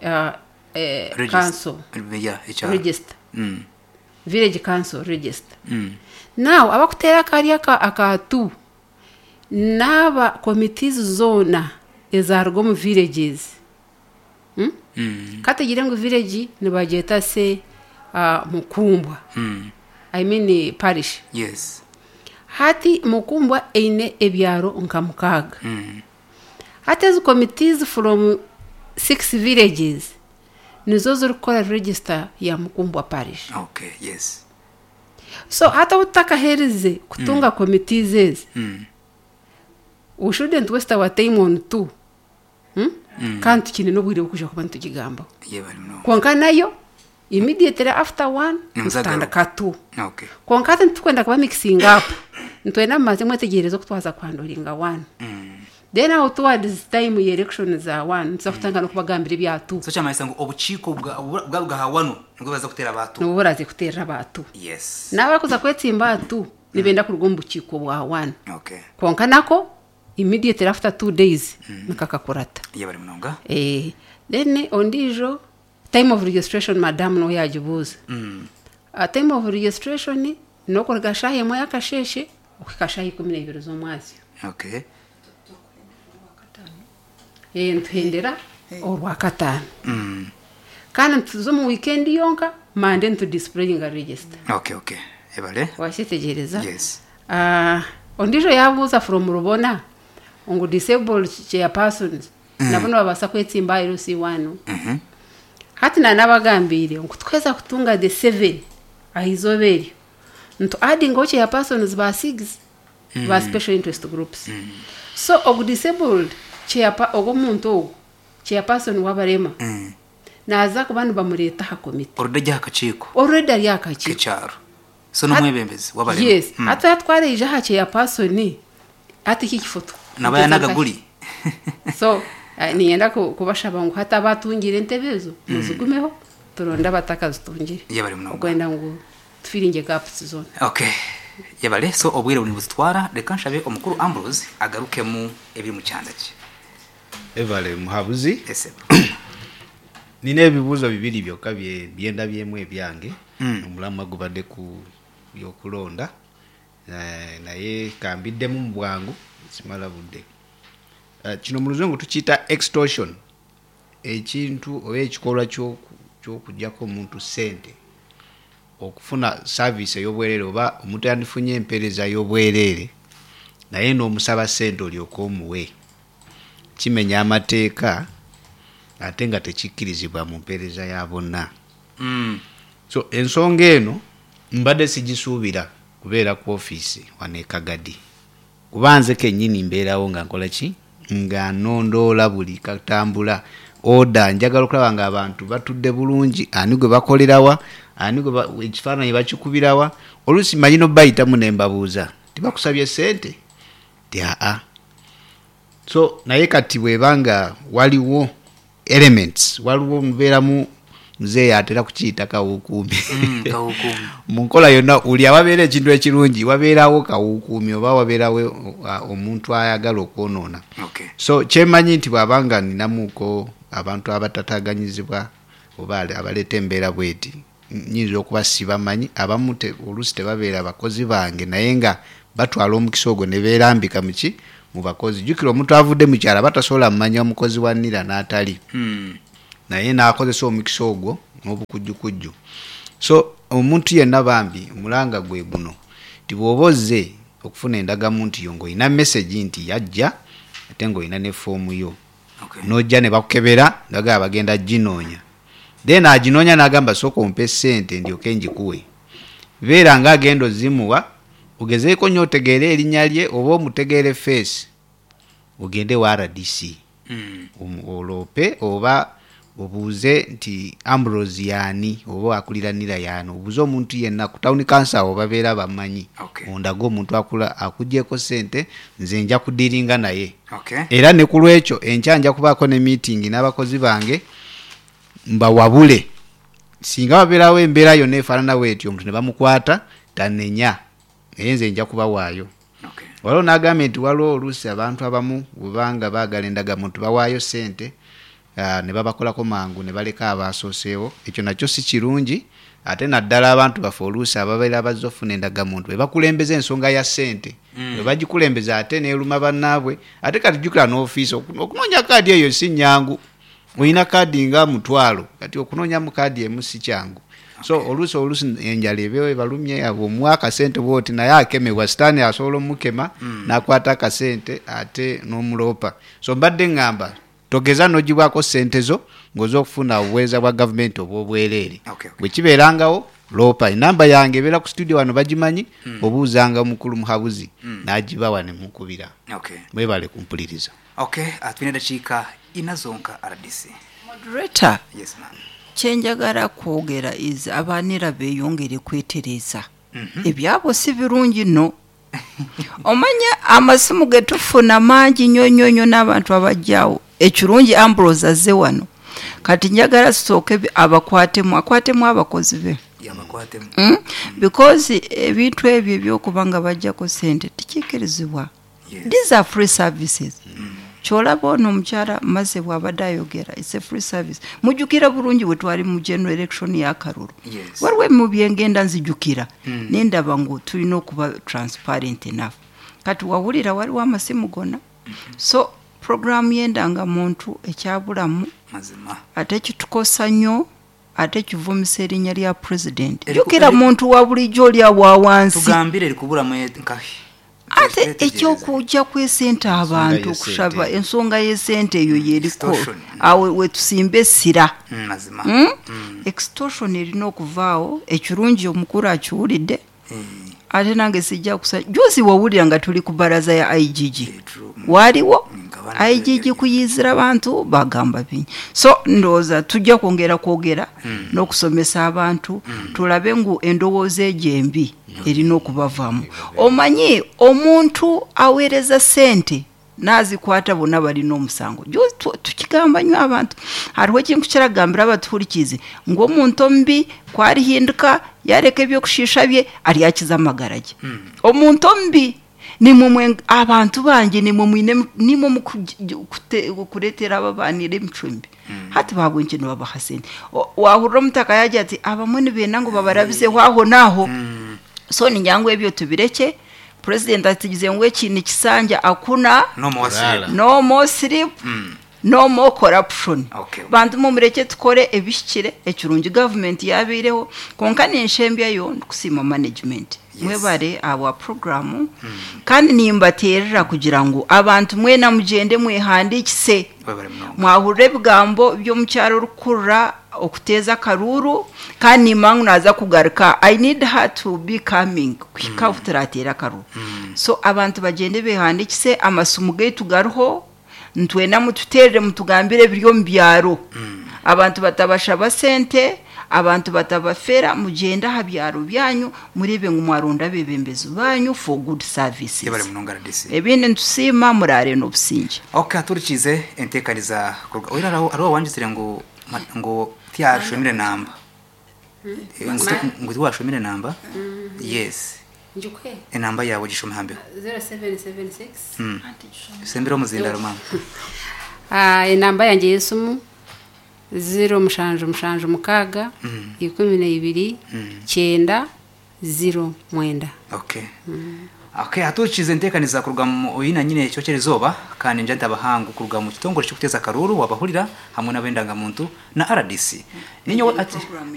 uh, eh, Register. council Yeah, ekyaro. register, Mm. village council register. Mm. Now abakuteera akari aka, aka two n'aba committees zoona ezaruga omu villages, hmm? Mm. Katugire ngu village nibagyeta se uh, Mukumbwa, Mm. I mean parish. Yes. Hati Mukumbwa eine ebyaro nka mukaaga. Mm. Hati ezi committees from six villages nizo zirikukora register ya Mukumbwa parish. Okay, yes. So hati obu tutakaheerize kutunga mm. committees ezi, Mm. we shouldn't waste our time on two, hmm? mm. Kandi tukine n'obwire bw'okuja kuba nitugigambaho. Yebale munonga. Kwonka nayo immediately after one Nimuzagaruka. nitutandika two. Okay. Kwonka hati nitukwenda kuba mixing up, nitwenda mumaze mwetegereze okutwaza kuhanduringa one. Mm. Then aho towards time ya election za one nituza kutandika n'okubagambira ebya two. So kyamanyisa ngu obukiiko bwa bwa bwa wano nibwo baza kuteera abantu. Nibwo buraze kuteerera abantu. Yes. N'abakuza kwetsimba atu nibenda kuruga omu bukiiko bwa one. Okay. Kwonka nako immediately after two days nikakakurata. Yebale munonga. Eh, then ondiijo time of registration madamu niwe yagibuuza. Mm. Uh, time of registration n'okuruga shaaha emwe y'akasheeshe okuhika shaaha ikumi n'eibiri z'omwazyo. Okay. Eh, nituhendera orwakataano. Mm. Kandi nituza omu weekend yonka, Monday nitudisplayinga register. Okay, okay. Yebale. Wakyetegereza? Yes. Uh, ondiijo yabuuza from Rubona ngu disabled chairpersons mm. nabo nibabaasa kwetsimba L C one. Mhm. Hati nanabagambiire ngu tukweza kutunga the seven aha izooba eryo ntu addingaho chairpersons ba six mm. ba special interest groups. mm. So ogu disabled chairpa ogu omuntu ogu chairperson w'abarema Mm. naza kuba nibamureeta aha komite. Orudajja akakiiko already ari aha kakiiko k'ekyaro. So n'omwebembezi w'abarema. Yes. Mm. Hati atwareija aha chairperson hati iki kifo Naba yanagaguli. So eh, ninyenda ku- kubashaba ngu hati abatungire entebe ezo muzigumeho, turonde abatakazitungire. Yebale munonga. Okwenda ngu tufiringe gaps zona. Okay. Yebale. So obwire buri buzitwara, reka nshabe omukuru Ambrose agarukemu ebiri mu kyanda kye. Evale muhabuzi. Ese. Nina ebibuuzo bibiri byokka bye- byendabyemu ebyange. Mm. Omulamwa gubadde ku byokulonda. Eh, naye kambiddemu mu bwangu simala budde. Eh, kino mu luzungu tukiyita extortion, ekintu oba ekikolwa ky'oku- ky'okugyako omuntu ssente okufuna service ey'obwereere, oba omuntu yandifunye empeereza y'obwereere naye n'omusaba ssente olyoke omuwe. Kimenya amateeka ate nga tekikkirizibwa mu mpeereza ya bonna. Mm. So ensonga eno mbadde sigisuubira kubeera ku ofiisi wano e Kagadi, kuba nze kennyini mbeerawo nga nkola ki, nga nondoola buli katambula oda. Njagala okulaba nga abantu batudde bulungi, ani gwe bakolerawa, ani gwe ba- ekifaananyi bakikubirawa. Oluusi manyi nobayitamu ne mbabuuza, tibakusabye ssente? Ti aa. So naye kati bwebanga waliwo elements, waliwo mubeeramu Muzeeyi atera kukiyita kawukuumi. Mm, kawukuumi. Mu nkola yonna uli awabeera ekintu ekirungi wabeerawo kawukuumi oba wabeerawo uh, omuntu ayagala okwonoona. Okay. So kyemanyi nti bw'abanga ninamuko abantu abatataganyizibwa oba ale- abaleeta embeera bweti, nyinza okuba sibamanyi, abamu te- oluusi tebabeera bakozi bange naye nga batwala omukisa ogwo ne beerambika muki mu bakozi. Jjukira omuntu avudde mu kyalo aba tasobola mmanya omukozi wa NIRA n'atali, Mm. naye n'akozesa omukisa ogwo n'obukujjukujju. So omuntu yenna bambi omulanga gwe guno nti bw'oba ozze okufuna endagamuntu yo ng'olina message nti yajja ate ng'olina ne foomu yo, Okay. n'ojja ne bakukebera ndagala bagenda ginoonya, then aginoonya n'agamba sooka ompe ssente ndyoke ngikuwe. Beera ng'agenda ozimuwa, ogezeeko nnyo otegeere erinnya lye oba omutegeere feesi, ogende wa R D C. Mm. Omu- oloope oba obuuze nti Ambrose yaani oba akulira NIRA yaani, obuuze omuntu yenna ku town council awo babeera bamanyi. Okay. Ondage omuntu akula akugyeko ssente nze nja kudiringa naye. Okay. Era ne ku lwekyo enkya nja kubaako ne meeting n'abakozi bange mbawabule, singa wabeerawo embeera yonna efaanana bwetyo omuntu ne bamukwata tanenya, naye nze nja kubawaayo. Okay. Waliwo n'agambye nti waliwo oluusi abantu abamu bwebanga baagala endagamuntu bawaayo ssente, ah, ne babakolako mangu ne baleka abaasooseewo. Ekyo nakyo si kirungi, ate naddala abantu baffe oluusi ababeera bazze okufuna endagamuntu be bakulembeza ensonga ya ssente, Mm. bwe bagikulembeza ate neeruma bannaabwe. Ate kati jjukira n'ofiisi oku-, okunoonya kaadi eyo si nnyangu, olina kaadi nga mutwalo, kati okunoonyamu kaadi emu si kyangu. So oluusi oluusi enjala eba ebalumye, abo omuwa akasente bw'oti naye akemebwa, sitaani asobola omukema Mm. n'akwata akasente ate n'omuloopa. So mbadde ŋŋamba togeza n'ogibwako ssente zo ng'oza okufuna obuweereza bwa gavumenti obw'obwereere. Okay, okay. Bwe kibeerangawo loopa, enamba yange ebeera ku studio wano bagimanyi, Mm. obuuzanga omukulu Muhabuzi Mm. n'agibawa ne mukubira. Okay. Mwebale kumpuliriza. Okay, ah, tulina eddakiika ina zonka R D C. Moderator. Yes, ma'am. Kyenjagala kwogera is abanira beeyongere kwetereza. Mhm. Ebyabo si birungi nno. Omanya amasimu ge tufuna mangi nnyo nnyo nnyo n'abantu abajjawo. Ekirungi Ambrose azze wano. Kati njagala tusooke bi-, abakwatemu, akwatemu abakozi be. Yabakwatemu. Mm? Because ebintu ebyo ebyokuba nga bajjako ssente tekikirizibwa. Yes. These are free services. Mm. Ky'olaba ono omukyala Maze bw'abadde ayogera, it's a free service. Mujjukira bulungi bwe twali mu general election y'akalulu. Yes. Waliwo ebimu bye ngenda nzijukira, Mm. ne ndaba ngu tulina okuba transparent enough. Kati wawulira waliwo amasimu gonna. Mm-hmm. So programu y'endangamuntu ekyabulamu, Mazima. ate kitukosa nnyo, ate kivumisa erinnya lya president. Eriku- Jjukira eri- muntu wa bulijjo oli awa wansi. Tugambire erikubulamu nkahi. Ate Twetegereze. ekyokujja kw'essente abantu y'essente. okusaba ensonga y'essente eyo yeriko. Extortion. Awo we tusimba essira. Mm, mazima. Mm? Mm. Extortion erina okuvaawo. Ekirungi omukulu akiwulidde. Eh. Ate nange sijja kusa. Juzi wawulira nga tuli ku baraza ya I G G. Eh, true. Mm. Waaliwo Mm, nga I G G kuyizira abantu bagamba bingi. So ndowooza tujja kwongera kwogera Mm. n'okusomesa abantu, Mm. tulabe ngu endowooza egyo embi erina okubavaamu. Omanyi omuntu aweereza ssente n'azikwata bonna balina omusango. Juzi tu-, tukigamba nnyo abantu, hariho ekintu kiragambira abatuhurikize ng'omuntu omubi kwarihinduka yareka ebyokushiisha bye aryakiza amagara ge. Mm. Omuntu omubi nimwe mwe abantu bange nimwe mwine nimwe mukuretera ababanira emicumbi. Mm. Hati babwe nkino babaha sente. O-, wahurira omutaka yagira ati abamwe nibenda ngu babarabize aho n'aho. Mm. So ningira ebyo tubireke. President atigize ngu eki ni kisanja akuna No more sleep. No more sleep. Mm. No more corruption. Okay. Bantu mumureke tukore ebishikire ekirungi government yabireho konka ninshembyayo nkusima management. Yes. Mwebare awa program. Mm. Kandi nimbaterera kugira ngu abantu mwena mugende mwehandikise. Mwebare munonga. Mwahurire ebigambo by'omukyaro orukurura okuteza akaruru kandi nimangu naza kugaruka. I need her to be coming kuhika mm. turatera akaruru. Mm. So abantu bagende behandikise amasumu gaitu garuho ntwena mututerere mutugambire ebiri omu byaro. Mm. Abantu batabashaba sente, abantu batabafera, mugende aha byaro byanyu murebe ngu mwaronda abebembezi banyu for good services. Yebare munonga R D C. Ebindi nitusiima murare n'obusinge. Okay, turikize entekaniza kuruga. Oira hariho, hariho wanditsire ngu, ngo Tiyashomire namba. Eh, ngu ti- ngu tiwashomire namba. Yes. Njukwe. Enamba yawe gishome hambeho. zero seven seven six. Mm. Sembera omuzindaro mama. Ah, enamba yange y'esimu zero mushanju mushanju mukaaga ikumi na ibiri kyenda zero mwenda. Okay. Okay, hatukize enteekaniza kuruga mu oyina nyine ekyokyera izooba, kandi nja ntabahangu kuruga mu kitongole ky'okuteeza akaruru wabahurira hamwe n'abendangamuntu na R D C. Ninyowe ati Program.